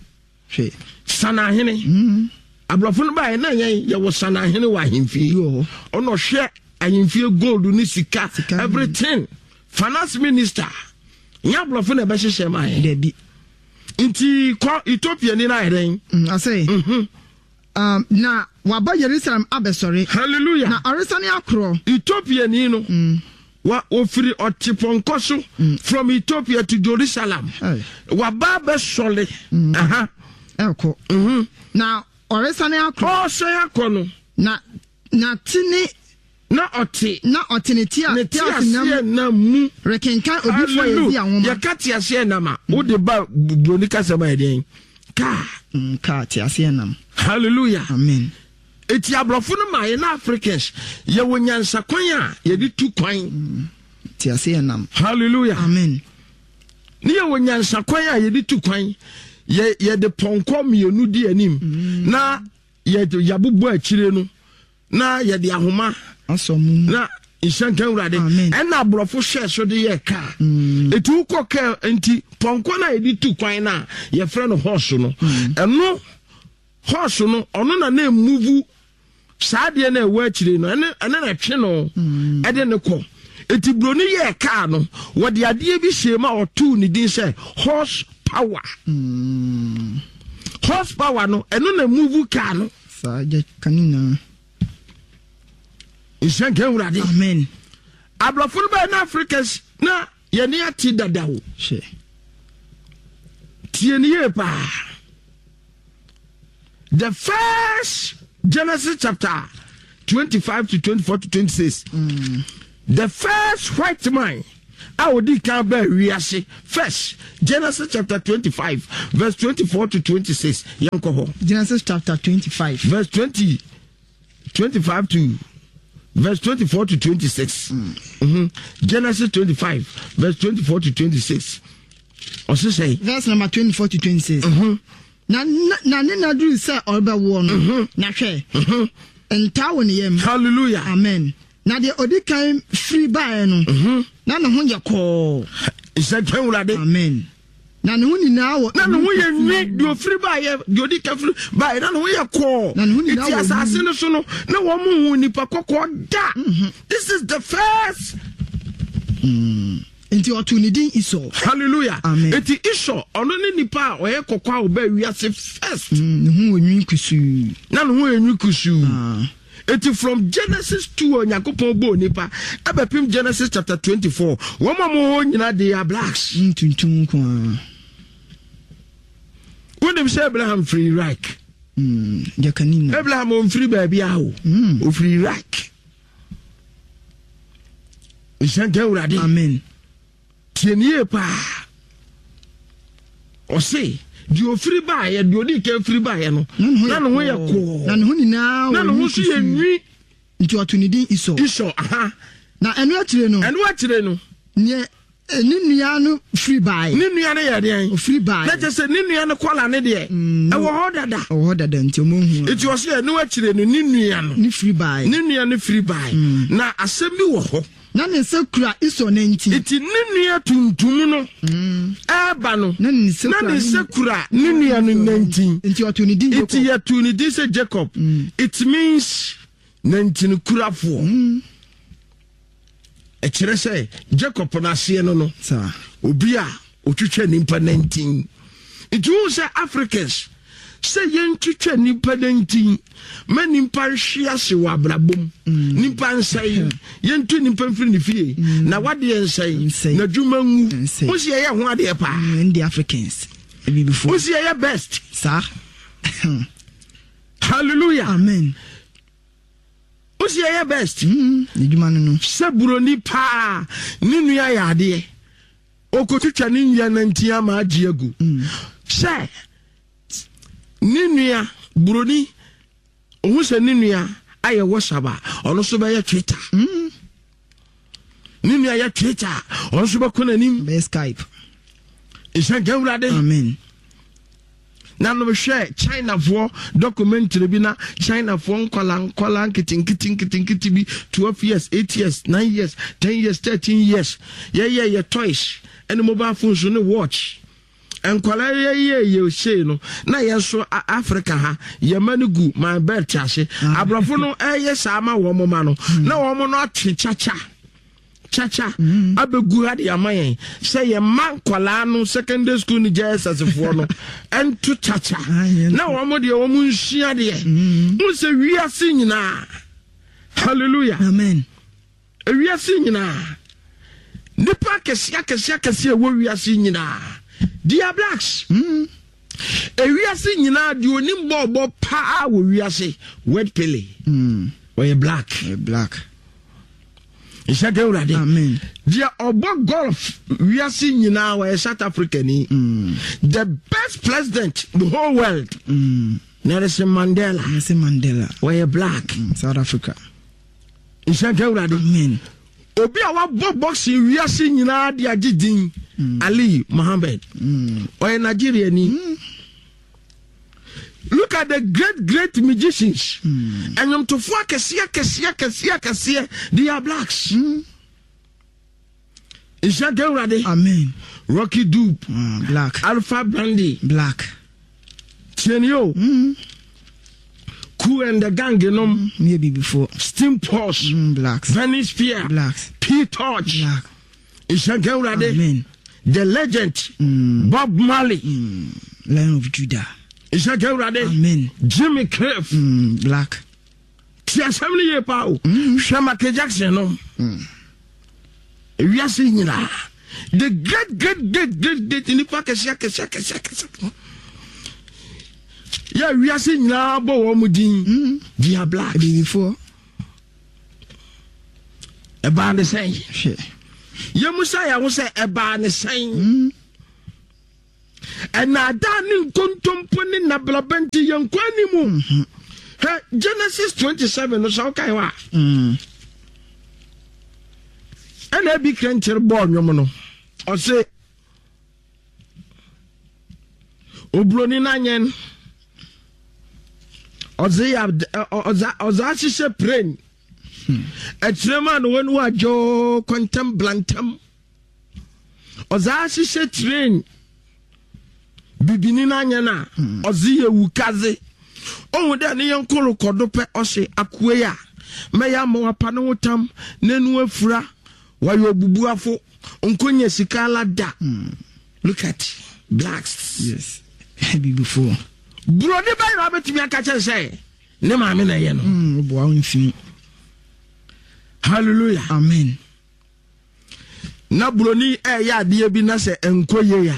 hwɛ. Sanahene. Mm. Aborɔfo no bayɛ na yɛn yɛwɔ sanahene wɔ ahemfie. Bi wɔ hɔ. Ɔna ɔhwɛ ahemfie gold ne sika, Sika. everything. Finance minister nyɛ aborɔfo na ɛbɛhyehyɛ maa yɛn. Dabi. Nti kɔ, Ethiopia ni na ayɛ dɛn? Mm, ɔsɛ Mhm. um, na waba Yerusalem abɛsɔre. Hallelujah. Na ɔresane akorɔ. Ethiopia ni no Mm. wa ofiri ɔte pɔnkɔ so from Ethiopia to Jerusalem. Hey. Waba abɛsɔle. Aha. Ɛkɔ. Mhm. Na ɔresane akorɔ. Ɔresɛn akɔ no, na na te ne na ɔte na ɔte ne tea ne teaseɛnam teaseɛnam mu rekenkan odiyifoɔ Yesaia nwoma. Yɛka teaseɛnam a, wode ba buroni kasɛm a, yɛdeɛn kaa? Mm, kaa teaseɛnam. Hallelujah. Amen. Eti aborɔfo no ma yɛ na Africans yɛwɔ nyansakwan a yɛde tu kwan. Teaseɛnam. Hallelujah. Amen. Ne yɛwɔ nyansakwan a yɛde tu kwan. yɛ yɛde pɔnkɔ mmienu di anim na yɛde yɛabobɔ akyire no na yɛde ahoma asɔ mu. Na nhyɛnka Awurade. Amen. Ɛna aborɔfo hyɛ so de yɛ kaa. Eti wokɔ kaa nti, pɔnkɔ no a yɛde tu kwan no a yɛfrɛ no horse no, ɛno horse no, ɔno na na emove saa adeɛ no a ɛwɔ akyire no, ɛne ɛne na ɛtwe no ɛde ne kɔ. Eti buroni yɛɛ kaa no, wɔde adeɛ bi hyɛ mu a ɔtoo ne din sɛ horse power. Horse power no, ɛno na move kaa no. Saa gya ka ne nyinaa. Nhyɛnka Awurade. Amen. Aborɔfo no bɛyɛ na Africans na yɛne ate dada o. Hwɛ. Tie ne yie paa. The first Genesis chapter twenty-five to twenty-four to twenty-six. Mm. The first white man a odi kan baa wiase first, Genesis chapter twenty-five verse twenty-four to twenty-six. Yɛnkɔ hɔ. Genesis chapter twenty-five verse twenty, twenty-five to verse twenty-four to twenty-six. Mm. Mm-hmm. Genesis twenty-five verse twenty-four to twenty-six. Ɔse sɛ verse number twenty-four to twenty-six. Mm-hmm. Na na ne na duru sɛ ɔrebɛwoɔ no, mm-hmm. na hwɛ, mm-hmm. ntaa wɔ ne yam. Hallelujah. Amen. Na deɛ odi kan firi baeɛ no, mm-hmm. na ne ho yɛ kɔɔ. Nsɛntɛn Wurade. Amen. Na ne ho nyinaa wɔ. Na ne ho yɛ nwi, deɛ ofiri baeɛ, deɛ odi kan firi baeɛ, na ne ho yɛ kɔɔ. Na ne ho nyinaa wɔ. Eti asase no so no, na wɔn mu hu nipa kɔkɔɔ da. This is the first. Mm. Nti ɔtoo ne din Esau. Hallelujah. Amen. Eti Esau, ɔno ne nipa a ɔyɛ kɔkɔɔ a ɔbaa wiase first. Mm, ne ho wɔ nwi kusuu. Na ne ho yɛ nwi kusuu. Ah. Eti from Genesis two Onyankopɔn bɔɔ nipa ɛbɛpem Genesis chapter twenty-four. Wɔn a wɔwɔ hɔ nyinaa they are blacks. Mm, tuntum nko ara. Wonim sɛ Abraham firi Iraq. Mm, jakani na. Abraham ɔmfiri baabi a o. Mm. Ɔfiri Iraq. Nhyɛnka Awurade. Amen. Tie nie paa. Ɔse deɛ ofiri baeɛ, deɛ odi kan firi baeɛ no, na ne ho yɛ kɔɔ. Na ne ho nyinaa na ne ho nso yɛ nwi. Nti ɔto ne din Esau. Esau, aha. Na ɛno akyire no. Ɛno akyire no. Neɛ ne nua no firi baeɛ. Ne nua no yɛ deɛn? Ofiri baeɛ. Na kyerɛ sɛ ne nua no kɔla ne deɛ. Mm, ɛwɔ hɔ dada. Ɛwɔ hɔ dada nti ɔmo hu. Nti ɔse ɛno akyire no ne nua no. Ne firi baeɛ. Ne nua no firi baeɛ. Mm. Na asɛm bi wɔ hɔ. Na ne nsa kura Esau nantin. Nti ne nua tuntum no ɛɛba no, na ne nsa kura ne nua no nantin. Nti ɔtoo ne din Jacob. Nti yɛtoo ne din sɛ Jacob. Mm. It means nantin kurafoɔ. Mm. Ɛkyerɛ sɛ Jacob n'aseɛ no no, obi a otwitwa nipa nantin. Nti wohu sɛ Africans sɛ yɛntwitwa nipa nantin ma nipa nhwe ase wɔ abrabom, mm. nipa nsɛe, yɛntu nipa mfiri ne fie, mm. na wadeɛ nsɛe, na dwuma ngu. Wo si yɛyɛ ho adeɛ paa. Mm, ndi Africans. Wo si yɛyɛ best. Saa. Hallelujah. Amen. Wo si yɛyɛ best. Mm, adwuma no no. Sɛ buroni paa ne nua yɛ adeɛ, okotwitwa ne nua nantin ama agye agu. Mm. Sɛ ne nua buroni ohun sɛ ne nua ayɛ WhatsApp a, ɔno nso bɛyɛ Twitter. Mm. Ne nua yɛ Twitter, ɔno nso bɛkɔ n'anim. Bɛyɛ Skype. Nhyɛnka Awurade. Amen. Na no hwɛ Chinafoɔ documentary bi na Chinafoɔ nkwala nkwala nketenkete nketenkete bi twelve years, eight years, nine years, ten years, thirteen years. Yɛyɛ yɛ toys ɛne mobile phones ne watch. Nkwala yɛyɛ yɛ sei no na yɛn nso Africa ha yɛma no gu my belt ase. Aborɔfo no ɛyɛ saa ma wɔn ma no na wɔn no atwe kyakya kyakya abɛgu ha de ama yɛn sɛ yɛma nkwalaa no secondary school ne J S S foɔ no ɛnto kyakya na wɔn deɛ wɔn nsua deɛ. N sɛ wiase nyinaa. Hallelujah. Amen. Wiase nyinaa nipa akɛseɛ akɛseɛ akɛseɛ ɛwɔ wiase nyinaa they are blacks. Mm. Ewiase nyinaa deɛ onim bɔɔbɔ paa wɔ wiase Word Pele. Mm. Ɔyɛ black. Ɔyɛ black. Nhyɛ ka Awurade. Amen. Deɛ ɔbɔ golf wiase nyinaa ɔyɛ South Africa ni. Mm. The best president the whole world. Mm. Nelson Mandela. Nelson Mandela. Ɔyɛ black. Mm. South Africa. Nhyɛ ka Awurade. Amen. Obi a wabɔ boxing wiase nyinaa de agye din mm. Ali Mohammed. Mm. Ɔyɛ Nigeria ni. Mm. Look at the great great magicians. Mm. Ɛnwomtofoɔ akɛseɛ akɛseɛ akɛseɛ akɛseɛ they are blacks. Mm. Nhyɛ ka Awurade. Amen. Rocky Dube. Mm, black. Alpha Blondy. Black. Tieni o. Mm. Kool and the Gang nom. Mm, yeah, before. Steam Posh. Mm, blacks. Venice Pier. Blacks. P Torch. Black. Nhyɛ ka Awurade. Amen. The legend. Mm. Bob Marley. Mm. Lion of Judah. Nhyɛ ka Awurade. Amen. Jimmy Cliff. Mm, black. Ti asɛm no yie paa o. Mm. Hwɛ Michael Jackson no. Mm. Ewiase nyinaa. The great great great great great nipa kɛseɛ kɛseɛ kɛseɛ kɛseɛ yɛ wiase nyinaa bɔ wɔn mu din, they are black. Abibifoɔ. Ɛbaa ne sɛn? Hwɛ. Yɛmu sa yɛn ho sɛ ɛbaa ne sɛn? Ɛnaadaa ne nkontompo ne nabraba nti yɛn kɔ anim. Hɛ, Genesis twenty-seven no, sɛ wokae hɔ a, Mm. ɛna ebi krɛnkyere bɔɔ nnwom no, ɔse oburoni n'anyɛn ɔdze yɛ ɔdze ɔdze ahyehyɛ plane ɛkyerɛ mu a na wɔn wadwo kɔntɛm blantam, ɔdze ahyehyɛ train bibini n'anyɛn a ɔdze yɛ wukaze ohun dɛ ne yɛn koro kɔdo pɛ, ɔhyɛ akoe yi a mɛyɛ ama wapa ne ho tam n'enu afura, wayɛ obubuafo nkonya sika ala da. Look at blacks. Yes, abibifoɔ. Buroni bɛyɛ na wabɛtumi aka kyerɛ sɛ ne maame na ɛyɛ no. Mm, woboa wo mfim. Hallelujah. Amen. Na buroni ɛyɛ adeɛ bi na sɛ nkɔ yie a,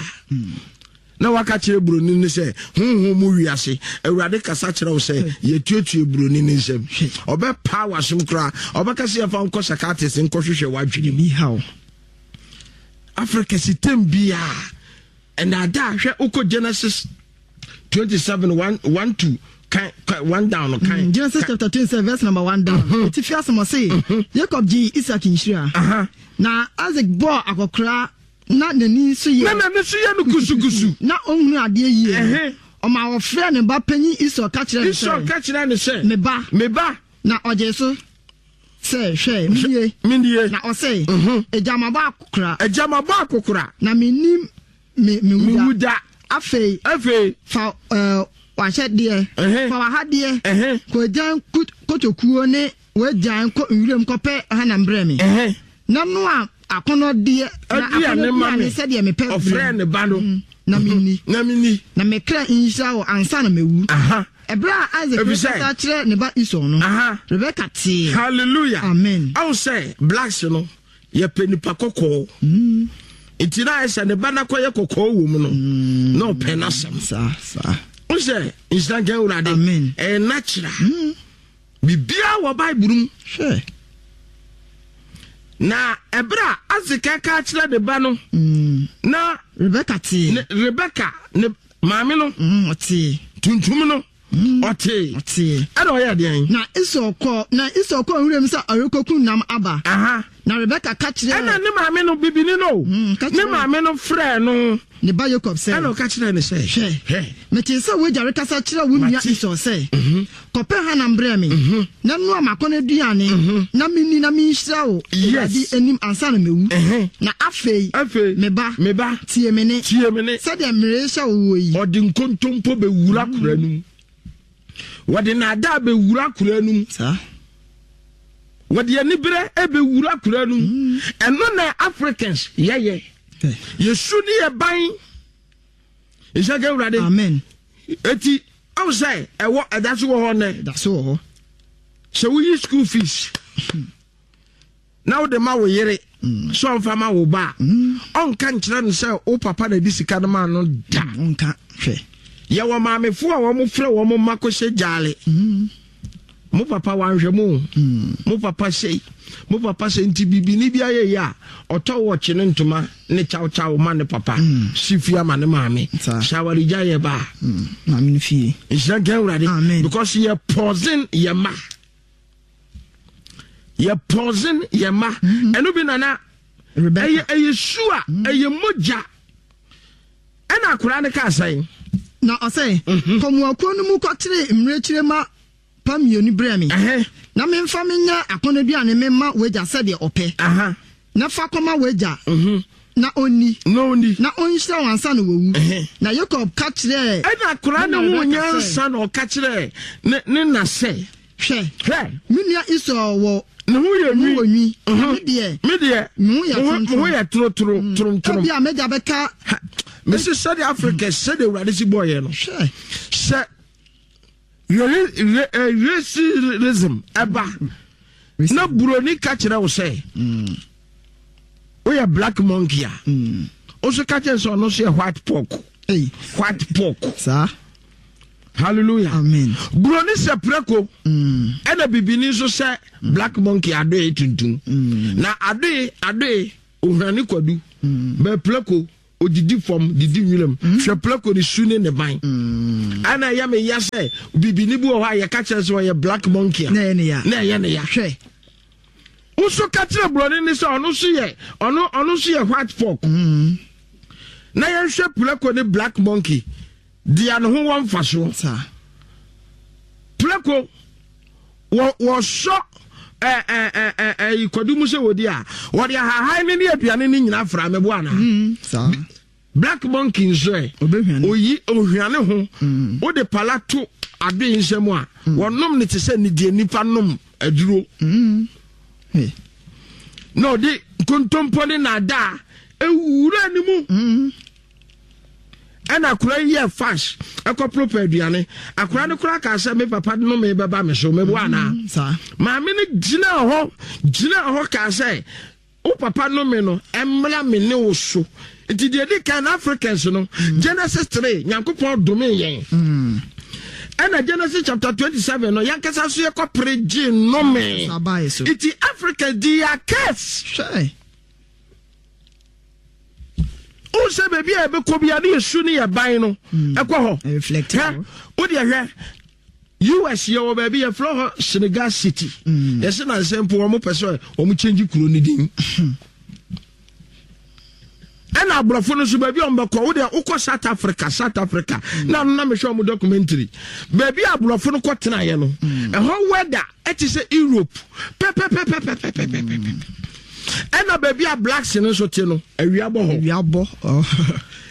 na waka kyerɛ buroni no sɛ honhom mu wiase Awurade kasa kyerɛ wo sɛ yɛtuatue buroni no nsɛm, ɔbɛpaa w'asom koraa, ɔbɛka sɛ yɛfa nkɔ psychiatrist nkɔhwehwɛ w'adwene mu. Bi haw. Africa sitem biaa ɛnaadaa. Hwɛ, wokɔ Genesis twenty-seven one one two kan kan one down no kan. Mm, Genesis chapter twenty-seven verse number one down. Etifi asɛm, ɔse Jacob gye Isaac nhyira. Aha. Na Isaac bɔɔ akɔkora na n'ani nso yɛ na n'ani so yɛ no kusukusu, na ɔnhunu adeɛ yie. Ɛhɛ. Ɔma wɔfrɛ ne ba panyin Esau ka kyerɛ no Esau sɛ, ka kyerɛ ne sɛ, "Me ba." "Me ba." Na ɔgye so sɛ, "Hwɛ, menie." "Menie." Na ɔse, Mhm. "Agya, mabɔ akɔkora, "Agya, mabɔ akɔkora, na mennim me me mewu wuda. da. Afei afei fa ɛɛ w'ahyɛdeɛ, Ɛhɛ. fa w'ahadeɛ ɛhɛ kɔ agyan kut- kotokuo ne w'agyan kɔ nwuram kɔpɛ hanam brɛ me, ɛhɛ na noa akɔnɔdeɛ na aduane ma me akɔnɔduane sɛdeɛ mepɛ Ɔfrɛ brɛ ne ba no. me, na menni, na menni, na me kra nhyira wo ansa na mewu." Aha. Ɛberɛ a Isaac Efisɛ- rekasa kyerɛ ne ba Esau no, Aha. Rebeka tee. Hallelujah. Amen. Awo sɛ blacks no yɛpɛ nipa kɔkɔɔ, nti na ayɛ sɛ ne ba nakɔyɛ kɔkɔɔ wɔ mu no na ɔpɛ n'asɛm. Saa saa. Wo sɛ nhyira nka Awurade. Amen. Ɛyɛ natural, biribiara wɔ Bible mu. Hwɛ. Na ɛberɛ a Isaac ka kyerɛ ne ba no Mm, na Rebeka tee. Ne Rebeka ne maame no, Mm, ɔtee. Tuntum no ɔtee. Ɔtee. Ɛna ɔyɛ deɛn? Na Esau kɔ na Esau kɔ nwuram sɛ ɔrekɔkum nam aba. Aha. Na Rebeka ka kyerɛɛ Ɛna ne maame no, bibini no, Mm, ka ne kyerɛɛ- maame no frɛɛ no. Ne ba Yakob sɛ, Ɛna ɔka kyerɛɛ ne sɛ, "Hwɛ, "Hwɛ, metee sɛ w'agya rekasa kyerɛ wo nua Mate. Esau sɛ, 'Kɔpɛ hanam brɛ me na noa m'akɔnnɔduane na menni na menhyira wo Yes. Awurade anim ansa na mewu.' Ɛhɛn. Na afei, afei, me ba, me ba, tie me ne tie me ne." Sɛdeɛ merehyɛ wo wɔ yi. Ɔde nkontompo bɛwura kora no mu, wɔde naadaa bɛwura kora no mu, Saa. Wɔde aniberɛ bɛwura kora no mu. Ɛno na Africans yɛyɛ. Hwɛ. Yɛsu ne yɛ ban nhyɛ ka Awurade. Amen. Eti awo sɛ ɛwɔ ɛda so wɔ hɔ nɛ? Da so wɔ hɔ. Sɛ woyi school fees na wode ma wo yere sɛ ɔmfa ma wo ba a, ɔnka nkyerɛ no sɛ wo papa na de sika no ma no da. Nka hwɛ. Yɛwɔ maamefoɔ a wɔn frɛ wɔn mma kɔhyɛ gyaale, "Mo papa wanhwɛ mo o. Mo papa sei, mo papa sei." Nti bibini bi ayɛ yi a ɔtɔ wɔkye ne ntoma ne kyawkyaw ma ne papa si fie ama ne maame. Saa. Hyɛ awaregya yɛ ba a, Maame no fie. Nhyira nka Awurade. Amen. Because yɛ poison yɛ ma, yɛ poison yɛ ma. Ɛno bi nana. Rebecca. ɛyɛ ɛyɛ su a ɛyɛ mogya. Ɛna akwaraa no kaa sɛn? Na ɔsɛ, "Kɔ mmoakuo no mu kɔkyere mmirekyire ma pa mmienu brɛ me, ɛhɛ na memfa menyɛ akɔnnɔduane memma w'agya sɛdeɛ ɔpɛ, aha na fa kɔma w'agya na ɔnni, na ɔni, na ɔnhyira wo ansa na wawu." Ɛhɛ. Na Yakob ka kyerɛɛ Ɛna akwaraa ne no na ho Rebeka sɛ, nyansa na ɔka kyerɛ ne ne na sɛ, "Hwɛ, "Hwɛ, me nua Esau wɔ ne ho yɛ ho nwi, wɔ nwi, na me deɛ, me deɛ, me ho yɛ me ho- me ho toromtorom. yɛ torotoro toromtorom." Ebia m'agya bɛka Mesi sɛdeɛ Africa, sɛdeɛ Awurade si bɔɔyɛ no, Hwɛ. sɛ racism ɛba na buroni ka kyerɛ wo sɛ Woyɛ black monkey a, Mm. wo so ka kyerɛ sɛ ɔno nso yɛ white pork. Ei. White pork. Saa. Hallelujah. Amen. Buroni sɛ prɛko, Mm. ɛna bibini nso sɛ black monkey, adoe tuntum. Mm. Na adoe adoe ohwane kwadu bɛ, prɛko odidi fam, didi nwuram. Hwɛ prɛko ne su ne ne ban. Mm. Ɛna ɛyɛ me ya sɛ bibini bi wɔ hɔ a yɛka kyerɛ sɛ ɔyɛ black monkey a, na ɛyɛ ne ya. Na ɛyɛ ne ya. Hwɛ. Nso ka kyerɛ buroni ne sɛ ɔno nso yɛ ɔno ɔno nso yɛ white pork. Mm. Na yɛnhwɛ prɛko ne black monkey deɛ ne ho wɔ mfasoɔ. Saa. Prɛko wɔ wɔsɔ ɛ ɛ ɛ ɛ ɛyi kwadu mu sɛ wɔdi a, wɔde ahahan ne ne aduane ne nyinaa fra mɛbo ana. Mm. Saa. Black monkey nso ɛ, Ɔbɛhwane. Oyi ohwane ho. Mm. Wode pala to adoe nsɛm a, wɔnom ne te sɛ ne deɛ nipa nom aduro. Mm. Hey. Na ɔde nkontompo ne naadaa ewura ne mu. Mm. Ɛna akora yi yɛ fast ɛkɔ pɛ aduane. Akora no kora kaa sɛ me papa no me bɛba me so mɛbo anaa. Mm. Saa. Maame no gyina hɔ gyina hɔ kaa sɛ wo papa no me no ɛmmra me ne wo so. Nti deɛ di kan na Africans no, Genesis three, Nyankopɔn dome yɛn. Mm. Ɛna Genesis chapter twenty-seven no, yɛnkasa so yɛkɔpere gye nnome. Saa baeɛ so. Nti Africa di yɛ curse. Hwɛ. Wo sɛ baabi a yɛbɛkɔ bia ne yɛsu ne yɛ ban no ɛkɔ hɔ. Reflect. Hwɛ, wodeɛ hwɛ U S, yɛwɔ baabi yɛfrɛ hɔ Senegal City. Yɛsɛ nansɛ mpo wɔn pɛ sɛ wɔn change kuro no din. Ɛna aborɔfo no nso, baabi a wɔn bɛkɔ, wodeɛ wokɔ South Africa, South Africa na no na mehwɛ wɔn documentary, baabi a aborɔfo no kɔ tenaeɛ no, ɛhɔ weather ɛte sɛ Europe pɛpɛpɛpɛpɛpɛpɛpɛ. Ɛna baabi a blacks no nso te no, awia bɔ hɔ. Awia bɔ.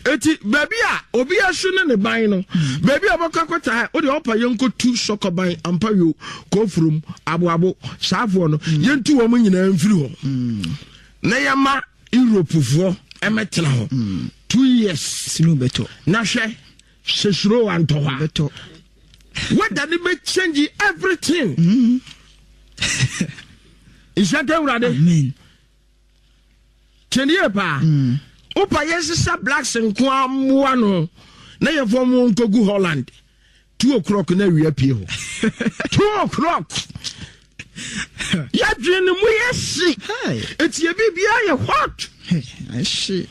Eti baabi a obi asu ne ne ban no, baabi a ɔbɛkɔ akɔta ha, wode ɔpa yɛnkɔtu sɔkɔban ampayo kɔfurom aboabo saafoɔ no, yɛntu wɔn nyinaa mfiri hɔ na yɛma Europefoɔ ɛmɛtena hɔ two years. Snow bɛtɔ. Na hwɛ sɛ suro antɔ hɔ a, Bɛtɔ. weather ne bɛ change everything. Nhyɛ nka Awurade. Amen. Tiɛnie paa, wopa yɛnsesa blacks nko a mmoa no na yɛmfa mu nkɔgu Holland, two o'clock na awia pie hɔ. Two o'clock, yɛdwene ne mu yɛ hye. Hey. Ɛti yɛ biribiaa yɛ hot. Hey. Ɛhye.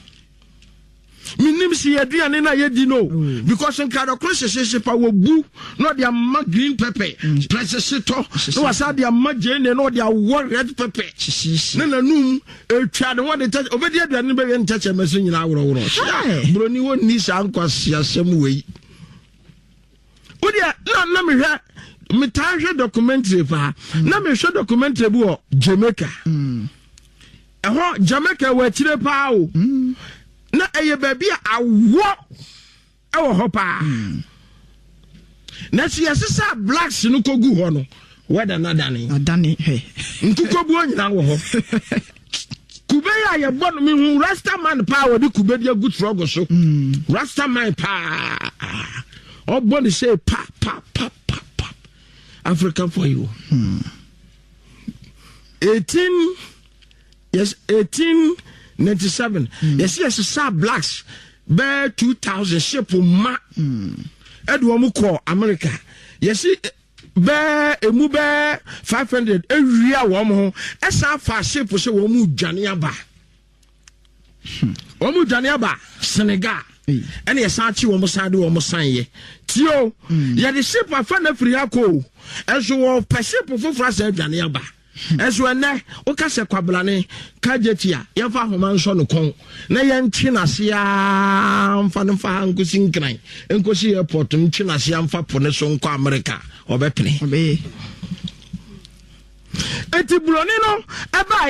Menim sɛ yɛaduane no a yɛdi no, because nkradɔkoro hyehyehye pa wɔbu na ɔde ama green pepper prɛsehye tɔ, na wasa de ama gyeene na ɔde awɔ red pepper. Hyehyehye. Na nanum etwa ne ho de ntɛkyɛ obɛdi aduane no bɛyɛ ntɛkyɛ mɛso nyinaa worɔworɔ. Hey. Buroni wɔnni saa nkwasiasɛm wei. Wodeɛ na na mehwɛ, metaa hwɛ documentary paa, na mehwɛ documentary bi wɔ Jamaica. Ɛhɔ Jamaica wɔ akyire paa o, na ɛyɛ baabi a awɔ ɛwɔ hɔ paa, na sɛ yɛsesa blacks no kɔgu hɔ no, wɛda no adane. Adane, hwɛ. Nkukobuo nyinaa wɔ hɔ. Kube yi a yɛbɔ no, mehu rasta man paa, wɔde kube de agu trɔgo so. Rasta man paa ɔbɔ ne sɛ pa pa pa pa pa. Africa for you. Eighteen, yes, eighteen ninety seven, yɛsi yɛsesa blacks bɛɛ two thousand ship ma ɛde wɔn kɔ America. Yɛsi bɛɛ emu bɛɛ five hundred ewia wɔn ho, ɛsan fa ship sɛ wɔn mu dwane aba, wɔn mu dwane aba Senegal. Ɛna yɛsan akyi wɔn, san de wɔn san yɛ tio. Yɛde ship afa na firi ha kɔ o, ɛnso wɔpɛ ship foforɔ asɛ adwane aba. Ɛnso ɛnɛ woka sɛ kwabrane kagyeti a, yɛmfa ahoma nsɔ no kɔn na yɛntwe n'ase aa mfa no mfa ha nkosi Nkran, nkosi airport, ntwe n'ase amfa po ne so nkɔ America, ɔbɛpene. Ɔbɛyɛ. Eti buroni no ɛbaayɛ.